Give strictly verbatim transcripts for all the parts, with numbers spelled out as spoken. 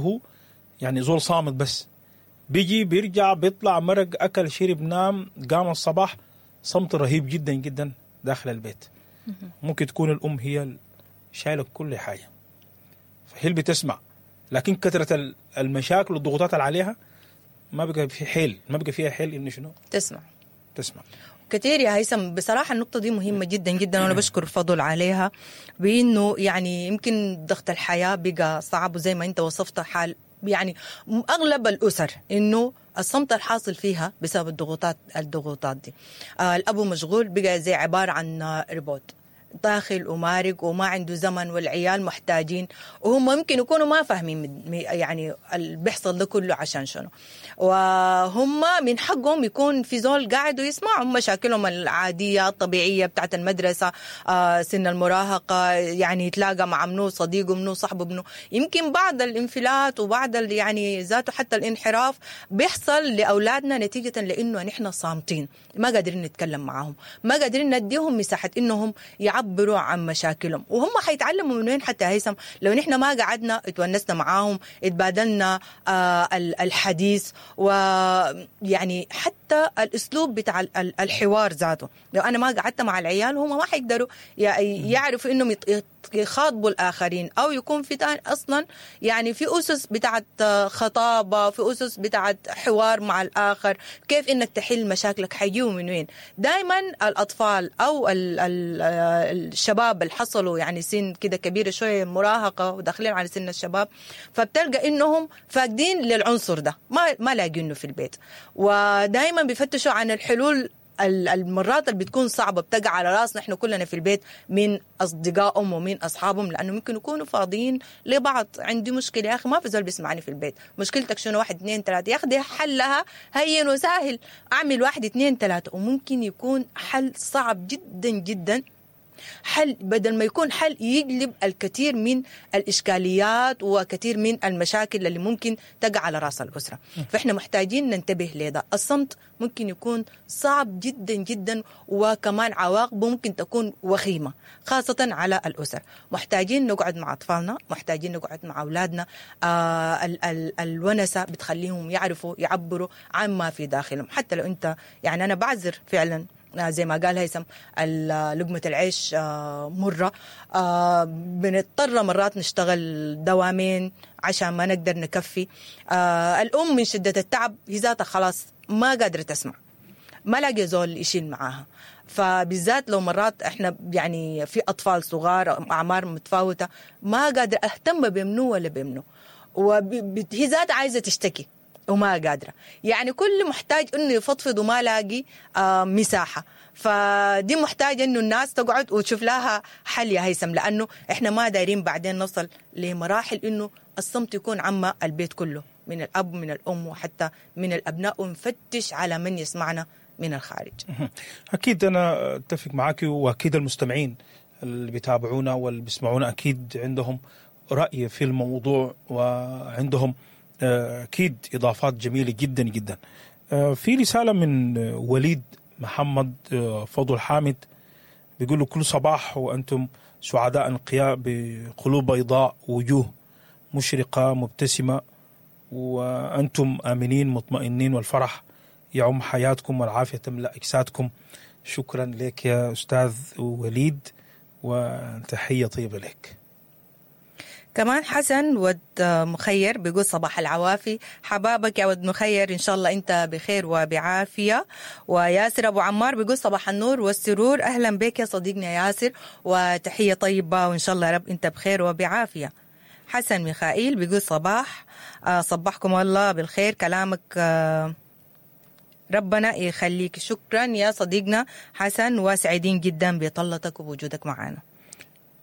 هو يعني زول صامت بس بيجي بيرجع بيطلع مرق اكل شرب نام قام الصباح، صمت رهيب جدا جدا داخل البيت. ممكن تكون الام هي شايله كل حاجة، فهي اللي بتسمع، لكن كثرة المشاكل والضغوطات اللي عليها ما بقى في حيل، ما بقى فيها حيل انه شنو تسمع تسمع كثير يا هيثم. بصراحة النقطة دي مهمة جدا جدا، وأنا بشكر فضل عليها، بأنه يعني يمكن ضغط الحياة بقى صعب، وزي ما أنت وصفت حال يعني أغلب الأسر إنه الصمت الحاصل فيها بسبب الضغوطات الضغوطات دي. آه الأبو مشغول بقى زي عبارة عن ريبوت، داخل ومارق وما عنده زمن، والعيال محتاجين وهم ممكن يكونوا ما فاهمين يعني اللي بيحصل ده كله عشان شنو، وهم من حقهم يكون في زول قاعد ويسمعهم مشاكلهم العادية الطبيعية بتاعت المدرسة، آه سن المراهقة، يعني يتلاقى مع منو صديقه منو صاحبه منو. يمكن بعض الانفلات وبعض يعني ذاته حتى الانحراف بيحصل لأولادنا نتيجة لأنه نحن صامتين، ما قادرين نتكلم معاهم، ما قادرين نديهم مساحة إنهم يعبروا عن مشاكلهم. وهم حيتعلموا من وين حتى هيثم لو نحن ما قعدنا اتونسنا معاهم، اتبادلنا آه الحديث، ويعني حتى الاسلوب بتاع الحوار ذاته. لو انا ما قعدت مع العيال هم ما حيقدروا يعرفوا انهم يخاطبوا الاخرين، او يكون في اصلا يعني في اسس بتاعت خطابه، في اسس بتاعت حوار مع الاخر، كيف انك تحل مشاكلك، حيجيوا من وين. دائما الاطفال او ال ال الشباب اللي حصلوا يعني سن كده كبيرة شوية، مراهقة وداخلين على سن الشباب، فبتلقى انهم فاقدين للعنصر ده، ما ما لاقينه في البيت، ودائما بيفتشوا عن الحلول. المرات اللي بتكون صعبة بتقع على راسنا احنا كلنا في البيت من اصدقائهم ومن اصحابهم، لانه ممكن يكونوا فاضيين لبعض. عندي مشكلة يا اخي ما في زول بيسمعني في البيت، مشكلتك شنو؟ واحد اثنين ثلاثة، يا اخي دي حلها هين وسهل، اعمل واحد اثنين ثلاثة، وممكن يكون حل صعب جدا جدا، حل بدل ما يكون حل يجلب الكثير من الإشكاليات وكثير من المشاكل اللي ممكن تقع على رأس الأسرة. فإحنا محتاجين ننتبه لده. الصمت ممكن يكون صعب جدا جدا، وكمان عواقبه ممكن تكون وخيمة خاصة على الأسر. محتاجين نقعد مع أطفالنا، محتاجين نقعد مع أولادنا. آه ال ال الونسة بتخليهم يعرفوا يعبروا عن ما في داخلهم. حتى لو أنت يعني أنا بعذر فعلا زي ما قال هيثم، لقمة العيش مرة، بنضطر مرات نشتغل دوامين عشان ما نقدر نكفي. الأم من شدة التعب هي ذاتها خلاص ما قادرة تسمع، ما لاقي زول يشيل معاها. فبالذات لو مرات احنا يعني في أطفال صغار أعمار متفاوتة، ما قادرة أهتم بمنو ولا بمنو، وهي ذاتها عايزة تشتكي وما قادرة. يعني كل محتاج انه يفضفض وما لاقي آه مساحة. فدي محتاجة انه الناس تقعد وتشوف لها حل يا هيثم، لانه احنا ما دايرين بعدين نوصل لمراحل انه الصمت يكون عم البيت كله، من الاب من الام وحتى من الابناء، ونفتش على من يسمعنا من الخارج. اكيد انا اتفق معك، واكيد المستمعين اللي بيتابعونا واللي بيسمعونا اكيد عندهم رأي في الموضوع، وعندهم أكيد إضافات جميلة جدا جدا. في رسالة من وليد محمد فضل حامد بيقولوا كل صباح وأنتم سعداء انقياء بقلوب بيضاء وجوه مشرقة مبتسمة، وأنتم آمنين مطمئنين، والفرح يعم حياتكم والعافية تملأ أجسادكم. شكرا لك يا أستاذ وليد، وتحية طيبة لك. كمان حسن ود مخير بيقول صباح العوافي، حبابك يا ود مخير، إن شاء الله أنت بخير وبعافية. وياسر أبو عمار بيقول صباح النور والسرور، أهلا بك يا صديقنا ياسر، وتحية طيبة وإن شاء الله يا رب أنت بخير وبعافية. حسن ميخائيل بيقول صباح صباحكم الله بالخير، كلامك ربنا يخليك. شكرا يا صديقنا حسن، وسعيدين جدا بطلتك ووجودك معنا.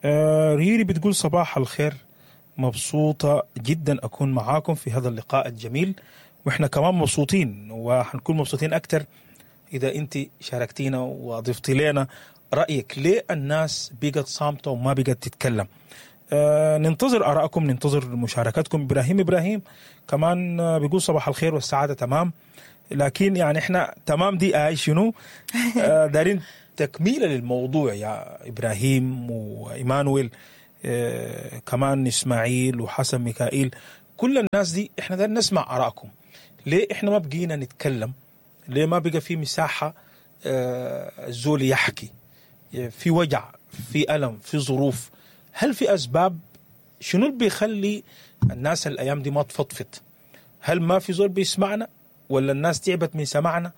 آه ريري بتقول صباح الخير، مبسوطة جدا أكون معاكم في هذا اللقاء الجميل، وإحنا كمان مبسوطين وحنكون مبسوطين أكتر إذا أنت شاركتينا وضفتي لنا رأيك. ليه الناس بقت صامتة وما بقت تتكلم؟ آه ننتظر آرائكم، ننتظر مشاركتكم. إبراهيم إبراهيم كمان بيقول صباح الخير والسعادة، تمام، لكن يعني إحنا تمام دي آي شنو؟ آه دارين تكميلة للموضوع يا إبراهيم وإيمانويل، آه كمان إسماعيل وحسن ميكائيل، كل الناس دي احنا دايرين نسمع ارائكم. ليه احنا ما بقينا نتكلم؟ ليه ما بقى في مساحة آه، الزول يحكي؟ في وجع، في الم، في ظروف، هل في اسباب؟ شنو اللي بيخلي الناس الايام دي ما تفضفض؟ هل ما في زول بيسمعنا، ولا الناس تعبت من سمعنا،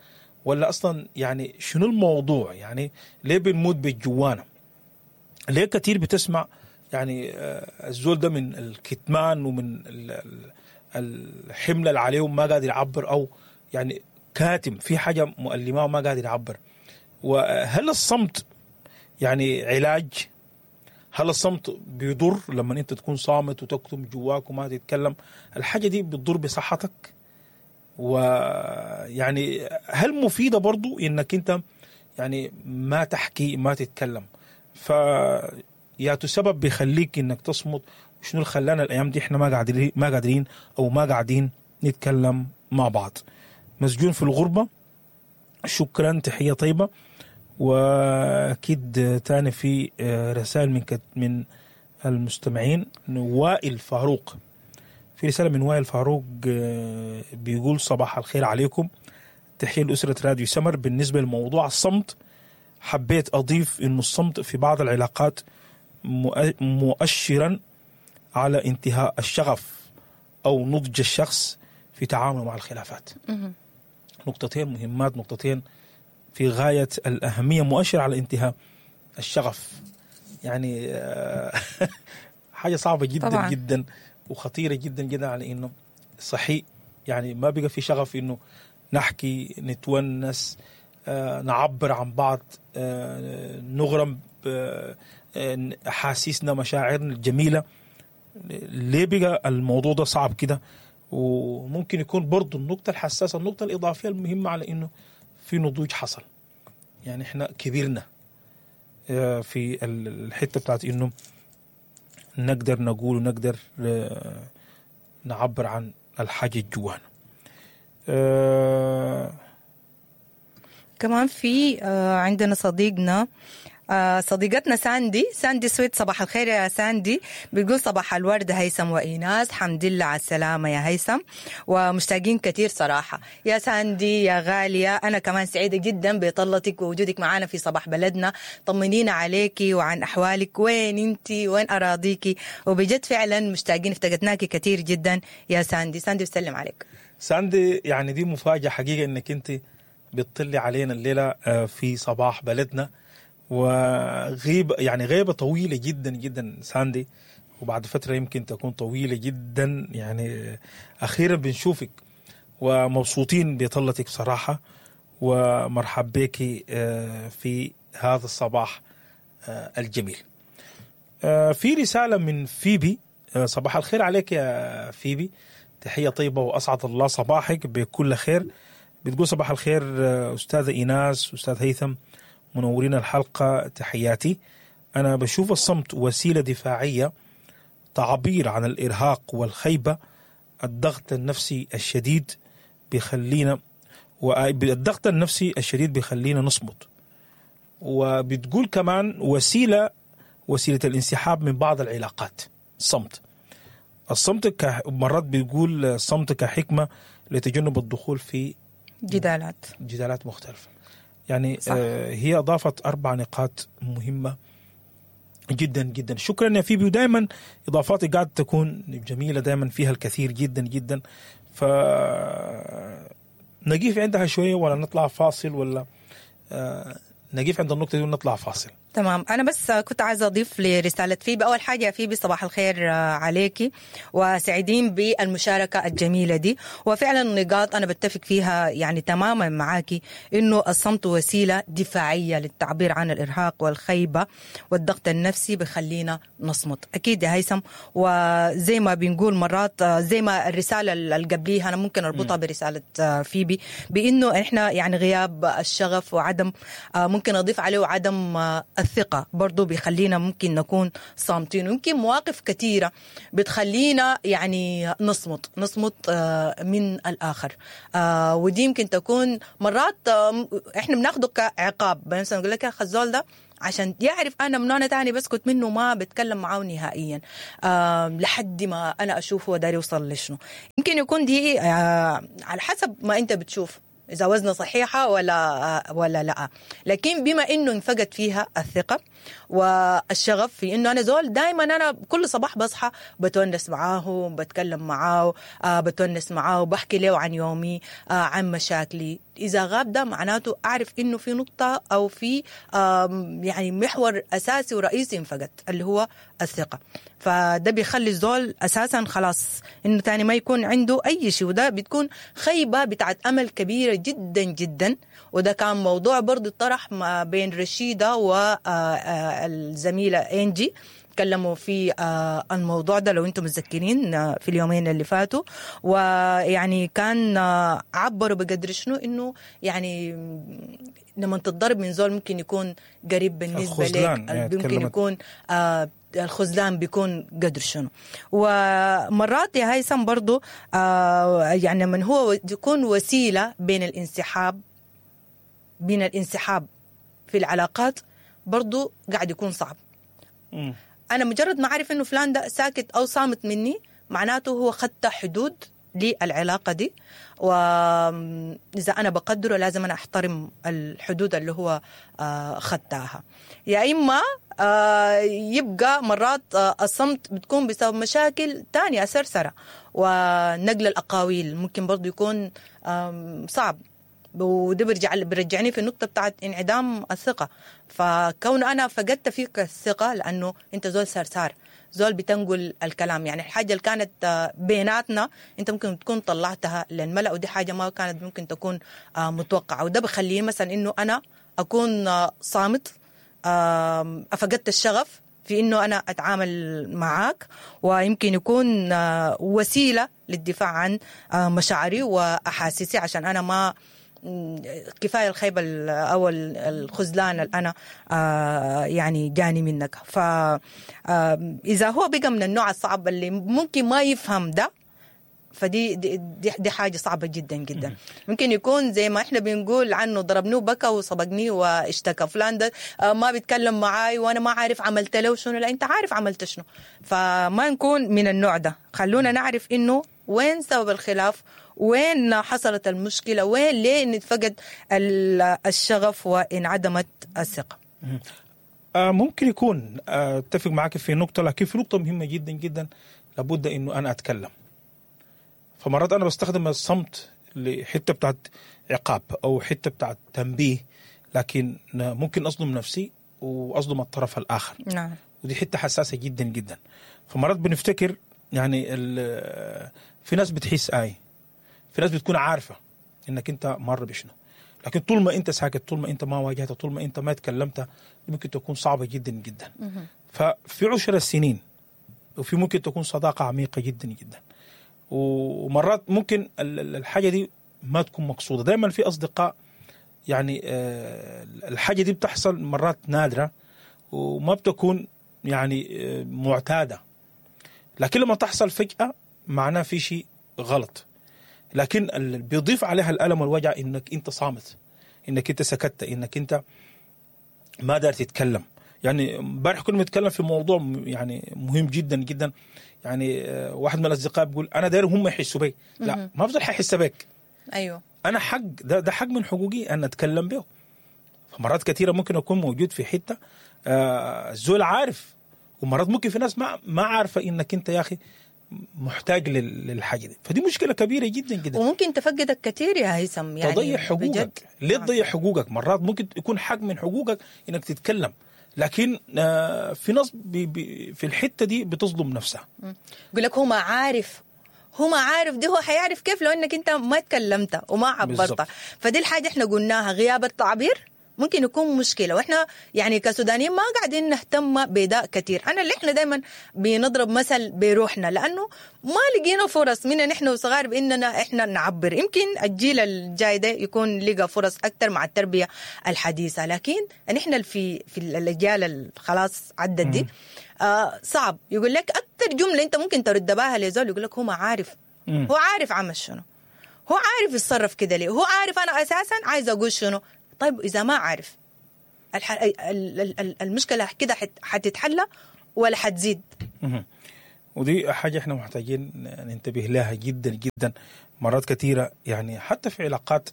ولا اصلا يعني شنو الموضوع؟ يعني ليه بنموت بالجوانا؟ ليه كتير بتسمع يعني آه، الزول ده من الكتمان ومن ال- ال- الحمل اللي عليه ما قادر يعبر، او يعني كاتم في حاجة مؤلمة وما قادر يعبر. وهل الصمت يعني علاج؟ هل الصمت بيضر لما انت تكون صامت وتكتم جواك وما تتكلم؟ الحاجة دي بتضر بصحتك؟ ويعني هل مفيدة برضو انك انت يعني ما تحكي ما تتكلم؟ ف يا سبب بيخليك انك تصمت، وشنو اللي خلانا الايام دي احنا ما قاعدين ما قادرين او ما قاعدين نتكلم مع بعض؟ مسجون في الغربة، شكرا، تحية طيبة. واكيد تاني في رسائل من من المستمعين. وائل فاروق، في رسالة من وائل فاروق بيقول صباح الخير عليكم، تحية لأسرة راديو سمر. بالنسبة لموضوع الصمت، حبيت أضيف إنه الصمت في بعض العلاقات مؤشرا على انتهاء الشغف أو نضج الشخص في تعامله مع الخلافات. نقطتين مهمات، نقطتين في غاية الأهمية. مؤشر على انتهاء الشغف، يعني حاجة صعبة جدا طبعا. جدا وخطيرة جدا جدا، على إنه صحيح يعني ما بقى في شغف إنه نحكي، نتونس، آه، نعبر عن بعض، آه، نغرم أحاسيسنا، مشاعرنا الجميلة. ليه بقى الموضوع ده صعب كده؟ وممكن يكون برضو النقطة الحساسة، النقطة الإضافية المهمة، على إنه في نضوج حصل، يعني إحنا كبرنا في الحتة بتاعت إنه نقدر نقول ونقدر نعبر عن الحاجة جوانا. أه كمان في عندنا صديقنا صديقتنا ساندي، ساندي سويت. صباح الخير يا ساندي، بتقول صباح الورد هيثم وإيناس، حمد لله على السلامة يا هيثم، ومشتاقين كثير صراحة يا ساندي يا غالية. أنا كمان سعيدة جدا بطلتك ووجودك معنا في صباح بلدنا. طمنينا عليكي وعن أحوالك، وين انتي وين أراضيكي؟ وبجد فعلا مشتاقين، افتقدناكي كثير جدا يا ساندي. ساندي بسلم عليك. ساندي يعني دي مفاجأة حقيقة انك انت بتطلي علينا الليلة في صباح بلدنا، وغيب يعني غيبة طويلة جدا جدا ساندي، وبعد فترة يمكن تكون طويلة جدا، يعني أخيرا بنشوفك ومبسوطين بطلتك بصراحة، ومرحب بك في هذا الصباح الجميل. في رسالة من فيبي، صباح الخير عليك يا فيبي، تحية طيبة وأسعد الله صباحك بكل خير. بتقول صباح الخير أستاذة إيناس، أستاذ هيثم، منورين الحلقة، تحياتي. أنا بشوف الصمت وسيلة دفاعية، تعبير عن الإرهاق والخيبة، الضغط النفسي الشديد بيخلينا، والضغط النفسي الشديد بيخلينا نصمت. وبتقول كمان وسيلة وسيلة الانسحاب من بعض العلاقات، الصمت. الصمت مرات بيقول الصمت كحكمة لتجنب الدخول في جدالات جدالات مختلفة. يعني آه هي أضافت أربع نقاط مهمة جدا جدا. شكرا يا فيبي، ودائما إضافاتي قاعد تكون جميلة، دائما فيها الكثير جدا جدا. ف نقيف عندها شوية ولا نطلع فاصل، ولا آه نقيف عند النقطة دي ونطلع فاصل؟ تمام. أنا بس كنت عايزة أضيف لرسالة فيبي. أول حاجة يا فيبي صباح الخير عليكي، وسعيدين بالمشاركة الجميلة دي. وفعلا النقاط أنا بتفق فيها يعني تماما معاكي، إنه الصمت وسيلة دفاعية للتعبير عن الإرهاق والخيبة والضغط النفسي، بخلينا نصمت. أكيد يا هيثم، وزي ما بنقول مرات، زي ما الرسالة اللي قبليها أنا ممكن أربطها برسالة فيبي، بإنه إحنا يعني غياب الشغف وعدم، ممكن أضيف عليه عدم الثقة برضو بيخلينا ممكن نكون صامتين، ويمكن مواقف كثيرة بتخلينا يعني نصمت نصمت آه، من الآخر. آه، ودي يمكن تكون مرات آه، احنا بناخده كعقاب، مثلا نقول لك يا أخي الزول ده عشان يعرف انا من انا تاني بسكت منه ما بتكلم معاه نهائيا آه لحد ما انا اشوف هو داير يوصل لشنو. يمكن يكون دي آه على حسب ما انت بتشوف اذا وزنه صحيحه ولا ولا لا، لكن بما انه انفقد فيها الثقة والشغف في انه انا زول دائما انا كل صباح بصحى بتونس معاه، بتكلم معاه، آه بتونس معاه، بحكي له عن يومي، آه عن مشاكلي. اذا غاب ده معناته اعرف انه في نقطة او في آم، يعني محور اساسي ورئيسي انفقد اللي هو الثقة. فده بيخلي الزول اساسا خلاص انه تاني ما يكون عنده اي شيء، وده بتكون خيبه بتاعت امل كبيرة جدا جدا. وده كان موضوع برضه طرح ما بين رشيده والزميله انجي، تكلموا في آه، الموضوع ده لو انتم متذكرين آه، في اليومين اللي فاتوا، ويعني كان آه، عبروا بقدر شنو انه يعني لما تتضرب من زول ممكن يكون قريب بالنسبة لك، الخذلان، يعني ممكن تكلمت. يكون آه الخذلان بيكون قدر شنو. ومرات يا هيثم برضو آه يعني من هو يكون وسيلة بين الانسحاب بين الانسحاب في العلاقات برضو قاعد يكون صعب. مم. انا مجرد ما اعرف انه فلان ده ساكت او صامت مني معناته هو خدت حدود للعلاقة دي، واذا انا بقدره لازم انا احترم الحدود اللي هو آه، خدتها. يا اما آه، يبقى مرات آه، الصمت بتكون بسبب مشاكل تانية سرسره، ونقل الاقاويل ممكن برضو يكون آم، صعب، وده بيرجع بيرجعني في النقطة بتاعت انعدام الثقة. فكون انا فقدت فيك الثقة لانه انت زول سرسار، زول بتنقل الكلام، يعني الحاجة اللي كانت آه، بيناتنا انت ممكن تكون طلعتها للملأ، ودي حاجة ما كانت ممكن تكون آه، متوقعه. وده بخليني مثلا انه انا اكون آه، صامت، آم، فقدت الشغف في انه انا اتعامل معاك، ويمكن يكون آه، وسيلة للدفاع عن آه، مشاعري واحاسيسي، عشان انا ما م، كفاية الخيبه ال- او ال- الخذلان اللي انا آه، يعني جاني منك. ف آه، اذا هو بقى من النوع الصعب اللي ممكن ما يفهم ده، فدي دي, دي, دي حاجة صعبة جدا جدا. ممكن يكون زي ما احنا بنقول عنه ضربني وبكى وصبقني واشتكى، فلان ده آه، ما بيتكلم معاي وانا ما عارف عملت له شنو. لا انت عارف عملت شنو. فما نكون من النوع ده، خلونا نعرف انه وين سبب الخلاف، وين حصلت المشكلة، وين ليه نتفقد ال- الشغف وانعدمت الثقة. آه ممكن يكون آه، اتفق معك في نقطة، لكن في نقطة مهمة جدا جدا لابد انه انا اتكلم. فمرات انا بستخدم الصمت لحتة بتاعت عقاب او حتة بتاعت تنبيه، لكن ممكن اظلم نفسي واظلم الطرف الاخر. نعم. ودي حتة حساسة جدا جدا. فمرات بنفتكر يعني ال- في ناس بتحس اي، في ناس بتكون عارفه انك انت مر بشنو، لكن طول ما انت ساكت، طول ما انت ما واجهت، طول ما انت ما تكلمت، ممكن تكون صعبة جدا جدا. ففي عشر السنين وفي ممكن تكون صداقه عميقة جدا جدا، ومرات ممكن ال- ال- الحاجة دي ما تكون مقصوده. دائما في اصدقاء يعني آه، الحاجة دي بتحصل مرات نادرة وما بتكون يعني آه، معتادة، لكن لما تحصل فجاة معناه في شيء غلط. لكن اللي بيضيف عليها الالم والوجع انك انت صامت، انك انت سكت، انك انت ما دار تتكلم. يعني امبارح كنا بنتكلم في موضوع م- يعني مهم جدا جدا، يعني آه، واحد من الاصدقاء بيقول انا داير هم يحسوا بي. لا، ما بفضل حيحس بك، ايوه انا حق ده, ده حق من حقوقي ان اتكلم به. فمرات كثيرة ممكن اكون موجود في حتة آه، الزول عارف، ومرات ممكن في ناس ما ما عارفه انك انت يا اخي محتاج لل- للحاجة دي. فدي مشكلة كبيرة جدا جدا. وممكن تفقدك كثير يا هيثم، يعني تضيع حقوقك. بجد. ليه نعم. تضيع حقوقك؟ مرات ممكن يكون حق من حقوقك انك تتكلم، لكن آه، في ناس بي بي في الحتة دي بتظلم نفسها. يقول لك هو ما عارف، هو ما عارف، دي هو حيعرف كيف لو انك انت ما تكلمت وما عبرت. بالظبط. فدي الحاجة احنا قلناها، غياب التعبير ممكن يكون مشكلة، واحنا يعني كسودانيين ما قاعدين نهتم بده كثير. انا اللي احنا دائما بنضرب مثل بروحنا، لانه ما لقينا فرص منا نحن وصغار باننا احنا نعبر. يمكن الجيل الجاي ده يكون لقى فرص اكثر مع التربية الحديثة، لكن نحن في في الاجيال خلاص عدت دي آه صعب. يقول لك اكثر جملة انت ممكن ترد بها لزول يقول لك هو ما عارف، هو عارف عمل شنو، هو عارف يتصرف كده ليه، هو عارف انا اساسا عايز اقول شنو. طيب إذا ما عارف الح... المشكلة كده حتتحلى ولا حتزيد؟ ودي حاجة احنا محتاجين ننتبه لها جدا جدا. مرات كثيرة يعني حتى في علاقات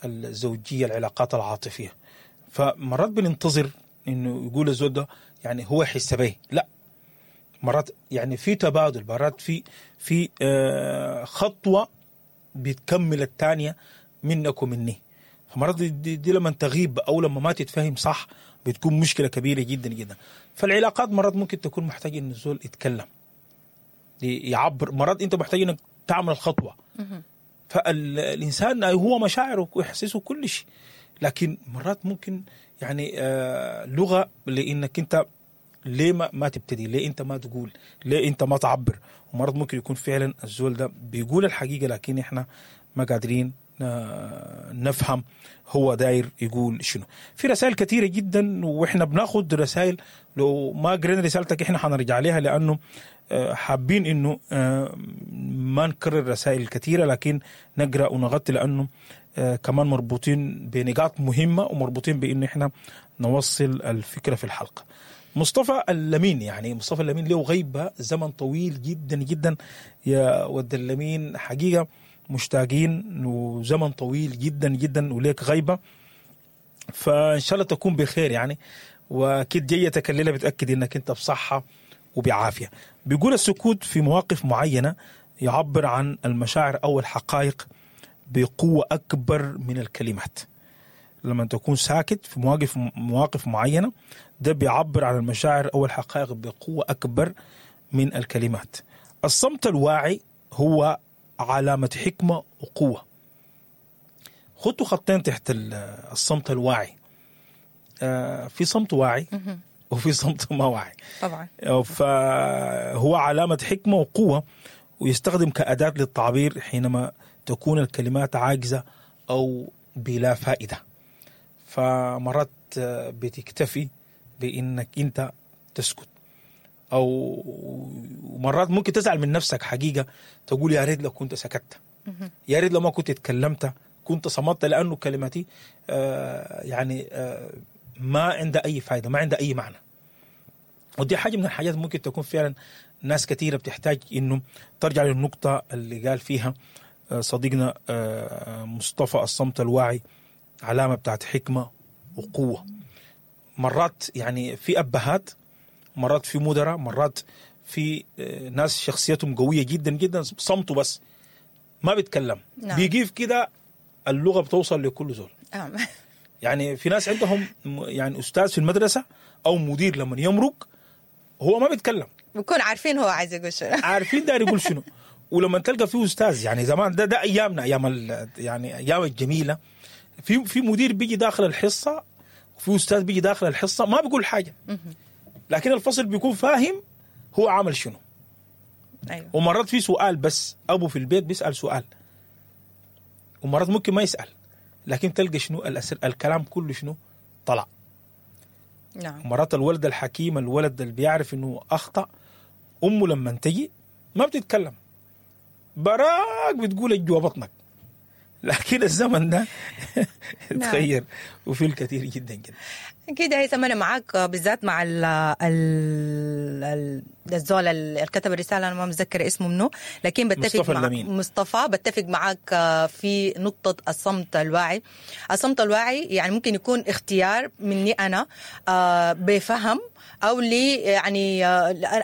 الزوجية، العلاقات العاطفية، فمرات بننتظر انه يقول الزوج ده يعني هو يحس به، لا، مرات يعني في تبادل، مرات في في خطوة بتكمل الثانية منك ومني. فمرات دي, دي لما تغيب او لما ما تتفهم صح بتكون مشكلة كبيرة جدا جدا. فالعلاقات مرات ممكن تكون محتاج ان الزول يتكلم، يعبر، مرات انت محتاج انك تعمل الخطوة. فالانسان هو مشاعره ويحسسه كل شيء، لكن مرات ممكن يعني آه لغة لانك انت ليه ما, ما تبتدي، ليه انت ما تقول، ليه انت ما تعبر. ومرات ممكن يكون فعلا الزول ده بيقول الحقيقة لكن احنا ما قادرين نفهم هو داير يقول شنو. في رسائل كثيرة جدا واحنا بناخد رسائل، لو ما قرينا رسالتك احنا حنرجع لها، لانه حابين انه ما نكرر رسائل كثيرة لكن نقرأ ونغطي، لانه كمان مربوطين بنقاط مهمة ومربوطين بانه احنا نوصل الفكرة في الحلقة. مصطفى اللمين، يعني مصطفى اللمين له غيبة زمن طويل جدا جدا يا ود اللمين، حقيقة مشتاقين وزمن طويل جدا جدا وليك غيبة، فإن شاء الله تكون بخير يعني، وأكيد جيتك الليلة بتأكد إنك أنت بصحة وبعافية. بيقول السكوت في مواقف معينة يعبر عن المشاعر أو الحقائق بقوة أكبر من الكلمات. لما تكون ساكت في مواقف مواقف معينة ده بيعبر عن المشاعر أو الحقائق بقوة أكبر من الكلمات. الصمت الواعي هو علامة حكمة وقوة. خطوا خطين تحت الصمت الواعي. آه في صمت واعي وفي صمت ما واعي طبعا. فهو علامة حكمة وقوة، ويستخدم كأداة للتعبير حينما تكون الكلمات عاجزة أو بلا فائدة. فمرات بتكتفي بإنك أنت تسكت، أو مرات ممكن تزعل من نفسك حقيقة، تقول يا ريت لو كنت سكت، يا ريت لو ما كنت اتكلمت، كنت صمت، لأنه كلمتي آه يعني آه ما عندها أي فائدة، ما عندها أي معنى. ودي حاجة من الحاجات ممكن تكون فعلا ناس كثيرة بتحتاج إنه ترجع للنقطة اللي قال فيها صديقنا آه مصطفى، الصمت الواعي علامة بتاعت حكمة وقوة. مرات يعني في أبهات، مرات في مدراء، مرات في ناس شخصيتهم قوية جدا جدا، صمتوا بس ما بيتكلم. نعم. بيجيف كده اللغة بتوصل لكل زول. نعم. يعني في ناس عندهم يعني أستاذ في المدرسة أو مدير لما يمرق هو ما بيتكلم، بيكون عارفين هو عايز يقول شنو، عارفين داير يقول شنو. ولما تلقى فيه أستاذ يعني زمان ده ده أيامنا، أيام يعني أيام الجميلة، في في مدير بيجي داخل الحصة وفي أستاذ بيجي داخل الحصة ما بيقول حاجة، لكن الفصل بيكون فاهم هو عمل شنو. أيوة. ومرات في سؤال بس، أبو في البيت بيسأل سؤال، ومرات ممكن ما يسأل، لكن تلقى شنو الأسر... الكلام كله شنو طلع. نعم. مرات الولد الحكيم، الولد اللي بيعرف إنه أخطأ، أمه لما تجي ما بتتكلم، براك بتقول جوا بطنك. لكن الزمن ده تغير وفي الكثير جدا جدا. أكيد هيثم أنا معاك، بالذات مع ال ال الزول اللي كتب الرسالة، أنا ما متذكر اسمه منه، لكن بتفق مصطفى مع اللمين. مصطفى بتفق معاك في نقطة الصمت الواعي. الصمت الواعي يعني ممكن يكون اختيار مني أنا بفهم، أو لي يعني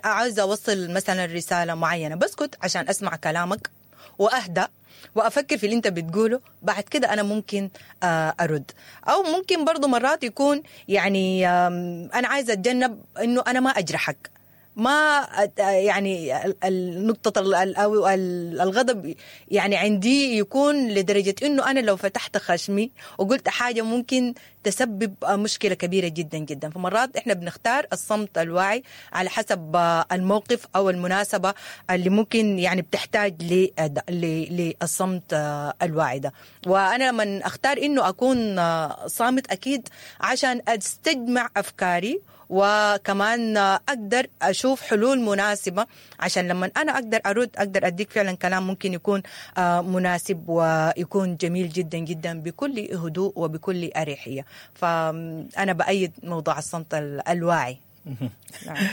عاوز أوصل مثلا رسالة معينة، بسكت عشان أسمع كلامك وأهدأ وأفكر في اللي أنت بتقوله، بعد كده أنا ممكن أرد. أو ممكن برضو مرات يكون يعني أنا عايزة أتجنب أنه أنا ما أجرحك، ما يعني النقطة الغضب يعني عندي يكون لدرجة إنه أنا لو فتحت خشمي وقلت حاجة ممكن تسبب مشكلة كبيرة جدا جدا. فمرات إحنا بنختار الصمت الواعي على حسب الموقف أو المناسبة اللي ممكن يعني بتحتاج للصمت الواعي ده. وأنا لما أختار إنه أكون صامت أكيد عشان أستجمع أفكاري، وكمان أقدر أشوف حلول مناسبة، عشان لما أنا أقدر أرد أقدر أديك فعلا كلام ممكن يكون مناسب ويكون جميل جدا جدا بكل هدوء وبكل أريحية. فأنا بأيد موضوع الصمت الواعي. نعم.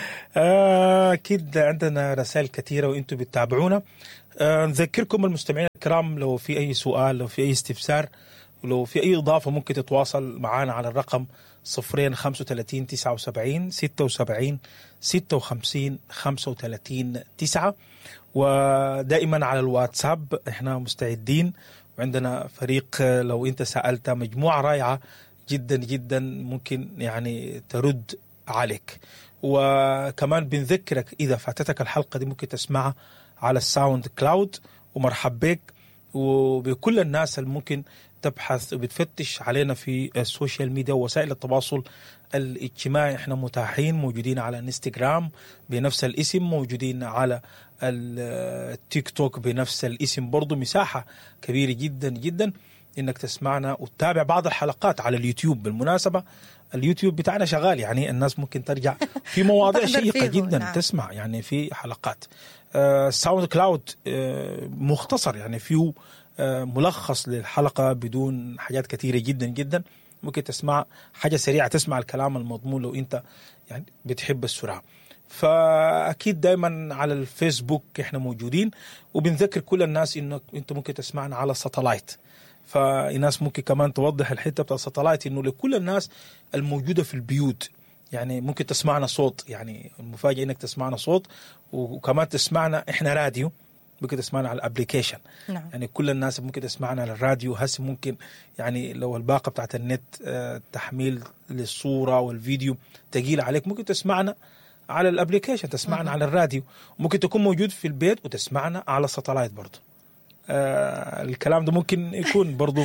أكيد عندنا رسائل كثيرة وإنتم بتتابعونا. نذكركم المستمعين الكرام لو في أي سؤال، لو في أي استفسار، ولو في أي إضافة ممكن تتواصل معنا على الرقم صفرين خمسة وثلاثين تسعة وسبعين ستة وسبعين ستة وخمسين خمسة وثلاثين تسعة. ودائما على الواتساب احنا مستعدين، وعندنا فريق لو انت سألت مجموعة رائعة جدا جدا ممكن يعني ترد عليك. وكمان بنذكرك إذا فاتتك الحلقة دي ممكن تسمعها على الساوند كلاود. ومرحب بك وبكل الناس اللي ممكن تبحث وبتفتش علينا في ال social media ووسائل التواصل الاجتماعي. احنا متاحين، موجودين على انستغرام بنفس الاسم، موجودين على التيك توك بنفس الاسم برضو. مساحة كبيرة جدا جدا انك تسمعنا وتتابع بعض الحلقات على اليوتيوب. بالمناسبة اليوتيوب بتاعنا شغال، يعني الناس ممكن ترجع في مواضيع شيقة جدا. نعم. تسمع يعني في حلقات آه ساوند كلاود آه مختصر، يعني فيه آه ملخص للحلقة بدون حاجات كثيرة جدا جدا. ممكن تسمع حاجة سريعة، تسمع الكلام المضمون لو انت يعني بتحب السرعة. فأكيد دايما على الفيسبوك احنا موجودين، وبنذكر كل الناس انك انت ممكن تسمعنا على ال satellite. فالناس ممكن كمان توضح الحتة بتاع ال satellite انه لكل الناس الموجودة في البيوت، يعني ممكن تسمعنا صوت. يعني المفاجأة انك تسمعنا صوت، وكمان تسمعنا احنا راديو، ممكن تسمعنا على ال application. نعم. يعني كل الناس ممكن تسمعنا على الراديو. هسه ممكن يعني لو الباقة بتاعت النت تحميل للصورة والفيديو تقيل عليك، ممكن تسمعنا على ال application، تسمعنا مم. على الراديو. ممكن تكون موجود في البيت وتسمعنا على ال satellite برضو. آه الكلام ده ممكن يكون برضو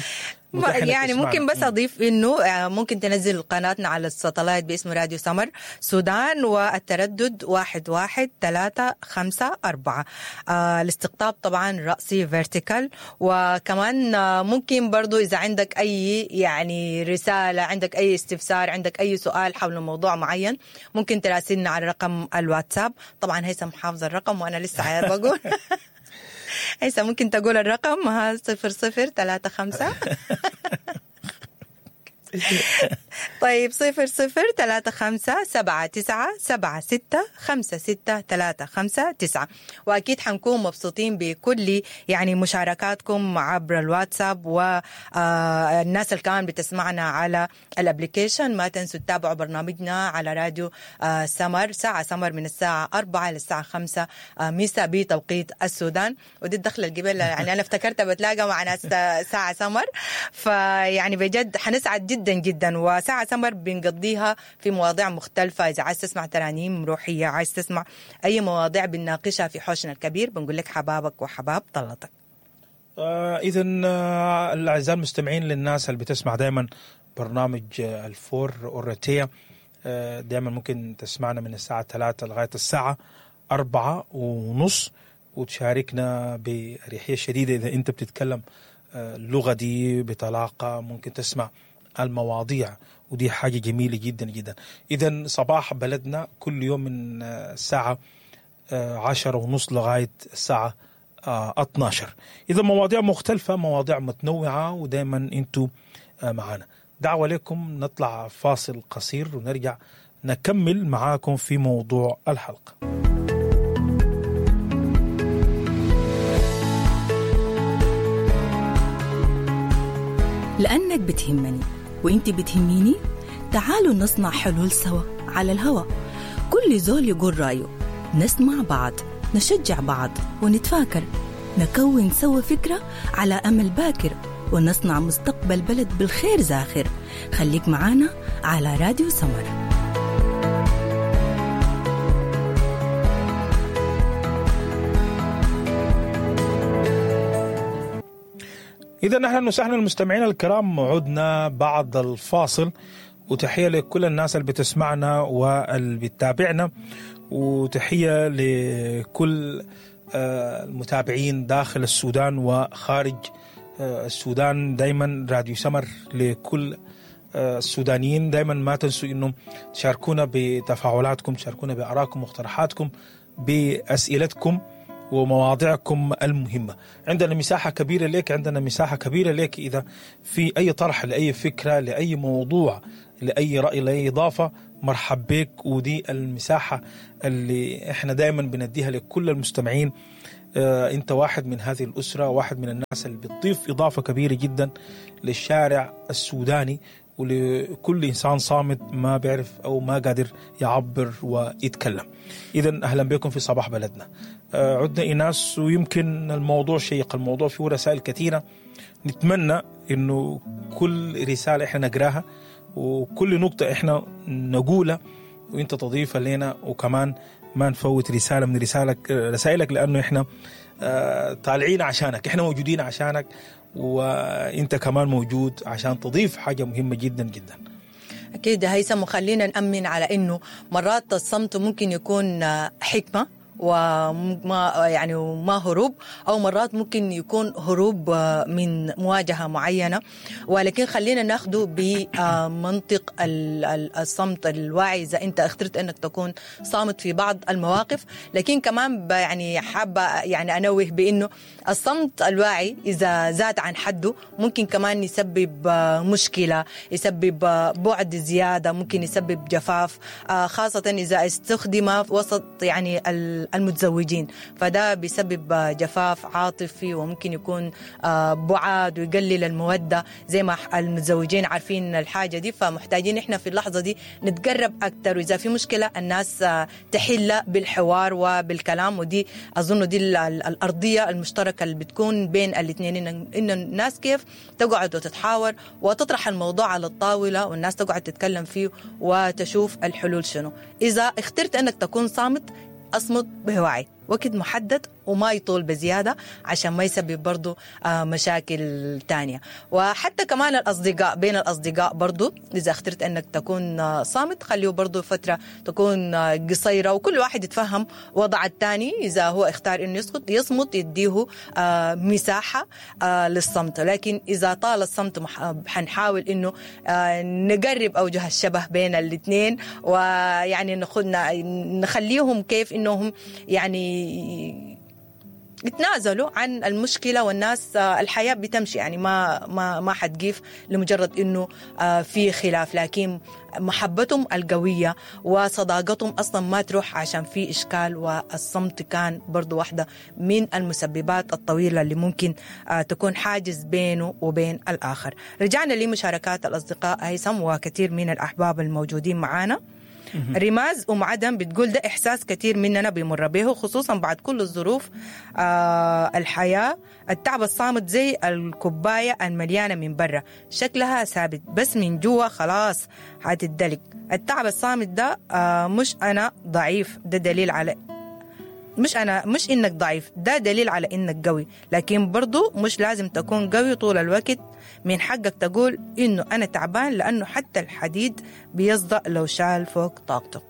يعني ممكن بس أضيف إنه ممكن تنزل قناتنا على ال satellite باسم راديو سمر سودان، والتردد واحد واحد ثلاثة خمسة أربعة. آه الاستقطاب طبعا رأسي vertical. وكمان ممكن برضو إذا عندك أي يعني رسالة، عندك أي استفسار، عندك أي سؤال حول موضوع معين، ممكن تراسلنا على رقم الواتساب. طبعا هيثم حافظ الرقم وأنا لسه بقول. هيثم ممكن تقول الرقم؟ ها صفر صفر ثلاثة خمسة. طيب صفر صفر ثلاثة خمسة سبعة تسعة سبعة ستة خمسة ستة ثلاثة خمسة تسعة. وأكيد حنكون مبسوطين بكل يعني مشاركاتكم عبر الواتساب، والناس اللي كمان بتسمعنا على ال application. ما تنسوا تتابعوا برنامجنا على راديو سمر، ساعة سمر من الساعة أربعة للساعة خمسة مساء بتوقيت السودان. ودي الدخلة القبل يعني أنا افتكرتها بتلاقى مع ناس ساعة سمر، فيعني بجد حنسعد جدا جدا. وساعة سمر بنقضيها في مواضيع مختلفة. إذا عايز تسمع ترانيم روحية، عايز تسمع أي مواضيع بنناقشها في حوشنا الكبير، بنقول لك حبابك وحباب طلتك. آه إذن آه الأعزاء المستمعين، للناس اللي بتسمع دائما برنامج الفور أورتيا، آه دائما ممكن تسمعنا من الساعة ثلاثة لغاية الساعة أربعة ونص، وتشاركنا بأريحية شديدة. إذا أنت بتتكلم اللغة دي بطلاقة ممكن تسمع المواضيع، ودي حاجة جميلة جدا جدا. إذن صباح بلدنا كل يوم من الساعة عشرة ونص لغاية الساعة اثناشر. إذا مواضيع مختلفة، مواضيع متنوعة، ودايما أنتوا معانا. دعوة لكم نطلع فاصل قصير ونرجع نكمل معاكم في موضوع الحلقة. لأنك بتهمني وإنت بتهميني، تعالوا نصنع حلول سوا على الهوا. كل زول يقول رأيه، نسمع بعض، نشجع بعض، ونتفاكر، نكون سوا فكرة على أمل باكر، ونصنع مستقبل بلد بالخير زاخر. خليك معانا على راديو سمر. اذا اهلا وسهلا المستمعين الكرام، عدنا بعد الفاصل، وتحية لكل الناس اللي بتسمعنا واللي بتتابعنا، وتحية لكل المتابعين داخل السودان وخارج السودان. دايما راديو سمر لكل السودانيين. دايما ما تنسوا انه تشاركونا بتفاعلاتكم، تشاركونا بارائكم واقتراحاتكم، باسئلتكم ومواضيعكم المهمة. عندنا مساحة كبيرة لك، عندنا مساحة كبيرة لك إذا في أي طرح لأي فكرة، لأي موضوع، لأي رأي، لأي إضافة، مرحب بك. ودي المساحة اللي احنا دايما بنديها لكل المستمعين. اه انت واحد من هذه الأسرة، واحد من الناس اللي بتضيف إضافة كبيرة جدا للشارع السوداني ولكل إنسان صامت ما بيعرف أو ما قادر يعبر ويتكلم. إذا أهلا بكم في صباح بلدنا. عدنا إيناس، ويمكن الموضوع شيق، الموضوع فيه رسائل كثيرة. نتمنى إنه كل رسالة إحنا نقراها وكل نقطة إحنا نقولها وإنت تضيفها لنا، وكمان ما نفوت رسالة من رسالك رسائلك، لأنه إحنا طالعين عشانك، إحنا موجودين عشانك، وإنت كمان موجود عشان تضيف حاجة مهمة جدا جدا. أكيد هيثم، وخلينا نأمن على إنه مرات الصمت ممكن يكون حكمة وما يعني وما هروب، او مرات ممكن يكون هروب من مواجهة معينة، ولكن خلينا ناخده بمنطق الصمت الواعي. اذا انت اخترت انك تكون صامت في بعض المواقف، لكن كمان يعني حابة يعني انوه بانه الصمت الواعي اذا زاد عن حده ممكن كمان يسبب مشكلة، يسبب بعد زيادة، ممكن يسبب جفاف، خاصة اذا استخدم وسط يعني المتزوجين، فده بيسبب جفاف عاطفي وممكن يكون بعاد ويقلل المودة. زي ما المتزوجين عارفين الحاجة دي، فمحتاجين احنا في اللحظة دي نتقرب أكتر، وإذا في مشكلة الناس تحل بالحوار وبالكلام. ودي أظن دي الأرضية المشتركة اللي بتكون بين الاثنين، إن الناس كيف تقعد وتتحاور وتطرح الموضوع على الطاولة، والناس تقعد تتكلم فيه وتشوف الحلول شنو. إذا اخترت أنك تكون صامت، أصمت بوعي، وقت محدد وما يطول بزيادة عشان ما يسبب برضو مشاكل تانية. وحتى كمان الأصدقاء، بين الأصدقاء برضو إذا اخترت أنك تكون صامت خليه برضو فترة تكون قصيرة، وكل واحد يتفهم وضع التاني. إذا هو اختار أنه يسقط يصمت، يديه مساحة للصمت. لكن إذا طال الصمت حنحاول أنه نقرب أوجه الشبه بين الاثنين، ويعني ناخدنا نخليهم كيف أنهم يعني يتنازلوا عن المشكلة، والناس الحياة بتمشي، يعني ما ما ما حتقيف لمجرد انه في خلاف، لكن محبتهم القوية وصداقتهم اصلا ما تروح عشان في اشكال. والصمت كان برضو واحدة من المسببات الطويلة اللي ممكن تكون حاجز بينه وبين الاخر. رجعنا لمشاركات الاصدقاء هيثم وكثير من الاحباب الموجودين معانا. رماز أم عدم بتقول ده إحساس كثير مننا بيمر به، خصوصا بعد كل الظروف آه الحياة. التعب الصامت زي الكوباية المليانة من برا، شكلها ثابت بس من جوا خلاص هتدلك. التعب الصامت ده آه مش أنا ضعيف، ده دليل على مش أنا مش إنك ضعيف، ده دليل على إنك قوي. لكن برضو مش لازم تكون قوي طول الوقت، من حقك تقول إنه أنا تعبان، لأنه حتى الحديد بيصدأ لو شال فوق طاقته.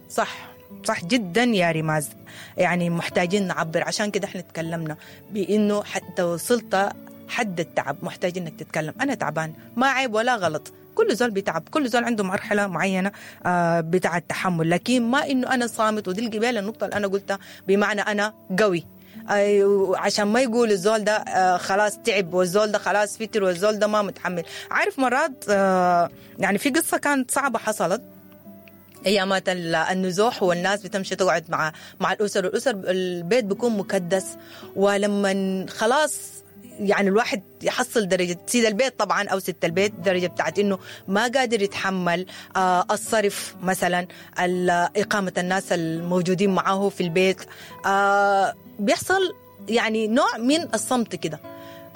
صح صح جدا يا رماز، يعني محتاجين نعبر. عشان كده احنا تكلمنا بإنه حتى وصلت حد التعب محتاج إنك تتكلم. أنا تعبان، ما عيب ولا غلط، كل زول بيتعب، كل زول عنده مرحلة معينة بتاع التحمل، لكن ما إنه أنا صامت. ودي القبالة النقطة اللي أنا قلتها بمعنى أنا قوي، عشان ما يقول الزول ده خلاص تعب، والزول ده خلاص فتر، والزول ده ما متحمل. عارف مرات يعني في قصة كانت صعبة حصلت ايامات النزوح، والناس بتمشي تقعد مع مع الأسر، والأسر البيت بيكون مكدس، ولما خلاص يعني الواحد يحصل درجة سيد البيت طبعا أو ست البيت، درجة بتاعت إنه ما قادر يتحمل آه الصرف مثلا، إقامة الناس الموجودين معه في البيت، آه بيحصل يعني نوع من الصمت كده.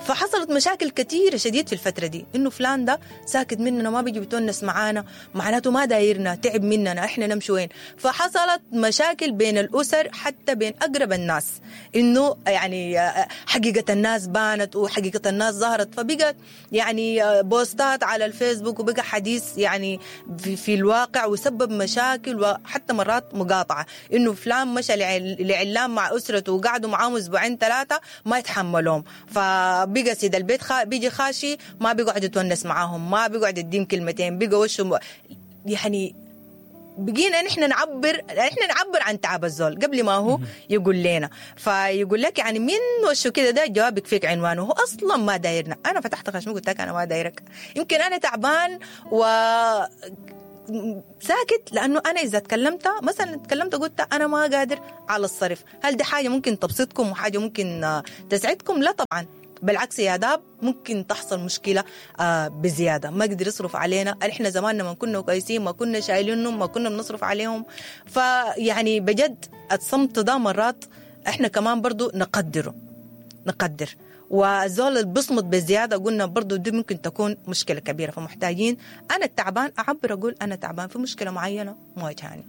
فحصلت مشاكل كثيرة شديد في الفترة دي، إنه فلان ده ساكت مننا، ما بيجي بيتونس معانا، معناته ما دايرنا، تعب مننا، إحنا نمشي وين؟ فحصلت مشاكل بين الأسر، حتى بين أقرب الناس، إنه يعني حقيقة الناس بانت وحقيقة الناس ظهرت، فبقت يعني بوستات على الفيسبوك وبقى حديث يعني في, في الواقع، وسبب مشاكل وحتى مرات مقاطعة، إنه فلان مشى لعلان مع أسرته وقعدوا معاهم أسبوعين ثلاثة ما يتحملهم، فبقى سيد البيت خا بيجي خاشي ما بيقعد يتونس معاهم، ما بيقعد يديم كلمتين، بقى وشه م... يعني بقينا نحن نعبر احنا نعبر عن تعب الزول قبل ما هو يقول لنا. فيقول لك يعني من وشه كده ده جوابك فيك عنوانه، هو اصلا ما دايرنا. انا فتحت خشمي قلت لك انا ما دايرك، يمكن انا تعبان و ساكت، لانه انا اذا تكلمت مثلا تكلمت قلت انا ما قادر على الصرف، هل دي حاجة ممكن تبسطكم وحاجه ممكن تسعدكم؟ لا طبعا، بالعكس يا داب ممكن تحصل مشكلة آه بزيادة، ما قدر يصرف علينا. احنا زماننا ما كنا كويسين، ما كنا شايلينهم، ما كنا بنصرف عليهم. فيعني بجد الصمت ده مرات احنا كمان برضو نقدره، نقدر. والزول اللي بصمت بزيادة قلنا برضو دي ممكن تكون مشكلة كبيرة، فمحتاجين أنا التعبان أعبر أقول أنا تعبان في مشكلة معينة مواجهاني.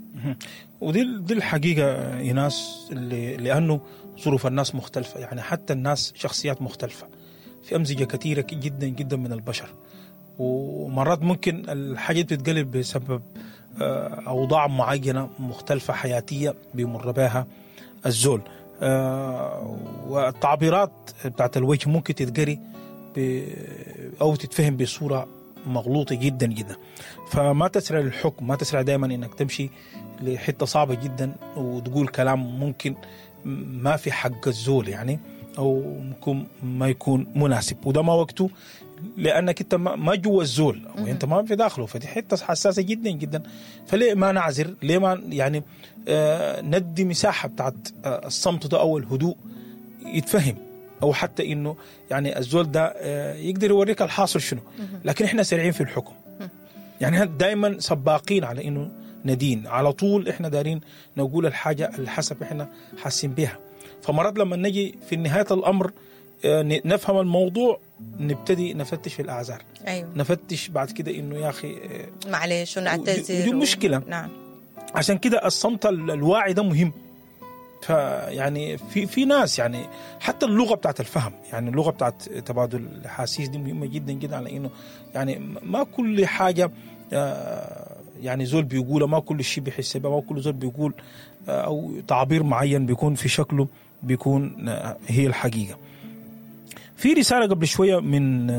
ودي دي الحقيقة يا ناس، اللي لأنه ظروف الناس مختلفة، يعني حتى الناس شخصيات مختلفة، في أمزجة كثيرة جدا جدا من البشر، ومرات ممكن الحاجة بتتقلب بسبب أوضاع معينة مختلفة حياتية بيمر بها الزول. آه والتعبيرات بتاعت الوجه ممكن تتقري أو تتفهم بصورة مغلوطة جدا جدا. فما تسرع الحكم، ما تسرع دائما إنك تمشي لحتة صعبة جدا وتقول كلام ممكن ما في حق الزول يعني، أو ممكن ما يكون مناسب، وده ما وقته، لأنك أنت ما جوا الزول أو أنت ما في داخله، فدي حتة حساسة جدا جدا. فليه ما نعذر؟ ليه ما يعني آه ندي مساحة بتاعت آه الصمت ده أو الهدوء يتفهم، أو حتى إنه يعني الزول ده آه يقدر يوريك الحاصل شنو. لكن إحنا سريعين في الحكم، يعني دايما سباقين على إنه ندين على طول، إحنا دارين نقول الحاجة اللي حسب إحنا حاسين بها. فمرات لما نجي في نهاية الأمر نفهم الموضوع، نبتدي نفتش في الأعذار. أيوة. نفتش بعد كده إنه يا أخي معلش ونعتذر، ودي مشكلة. و... نعم. عشان كده الصمت الواعي ده مهم. فيعني في في ناس يعني حتى اللغة بتاعت الفهم، يعني اللغة بتاعت تبادل الأحاسيس دي مهمة جدا جدا، على إنه يعني ما كل حاجة يعني زول بيقوله، ما كل شيء بيحس به، ما كل زول بيقول أو تعبير معين بيكون في شكله بيكون هي الحقيقة. في رسالة قبل شوية من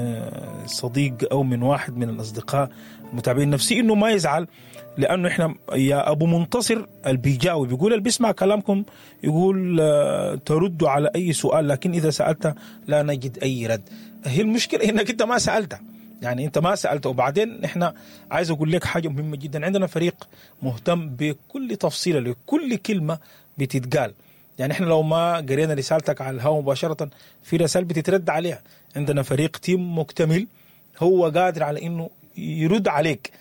صديق أو من واحد من الأصدقاء المتابعين نفسي إنه ما يزعل، لأنه إحنا يا أبو منتصر البيجاوي بيقول اللي بيسمع كلامكم يقول تردوا على أي سؤال، لكن إذا سألت لا نجد أي رد. هي المشكلة إنك أنت ما سألت، يعني أنت ما سألت. وبعدين إحنا عايز أقول لك حاجة مهمة جدا، عندنا فريق مهتم بكل تفصيلة لكل كلمة بتتقال. يعني إحنا لو ما قرينا رسالتك على الهواء مباشرة في رسالة بتترد عليها، عندنا فريق تيم مكتمل هو قادر على إنه يرد عليك،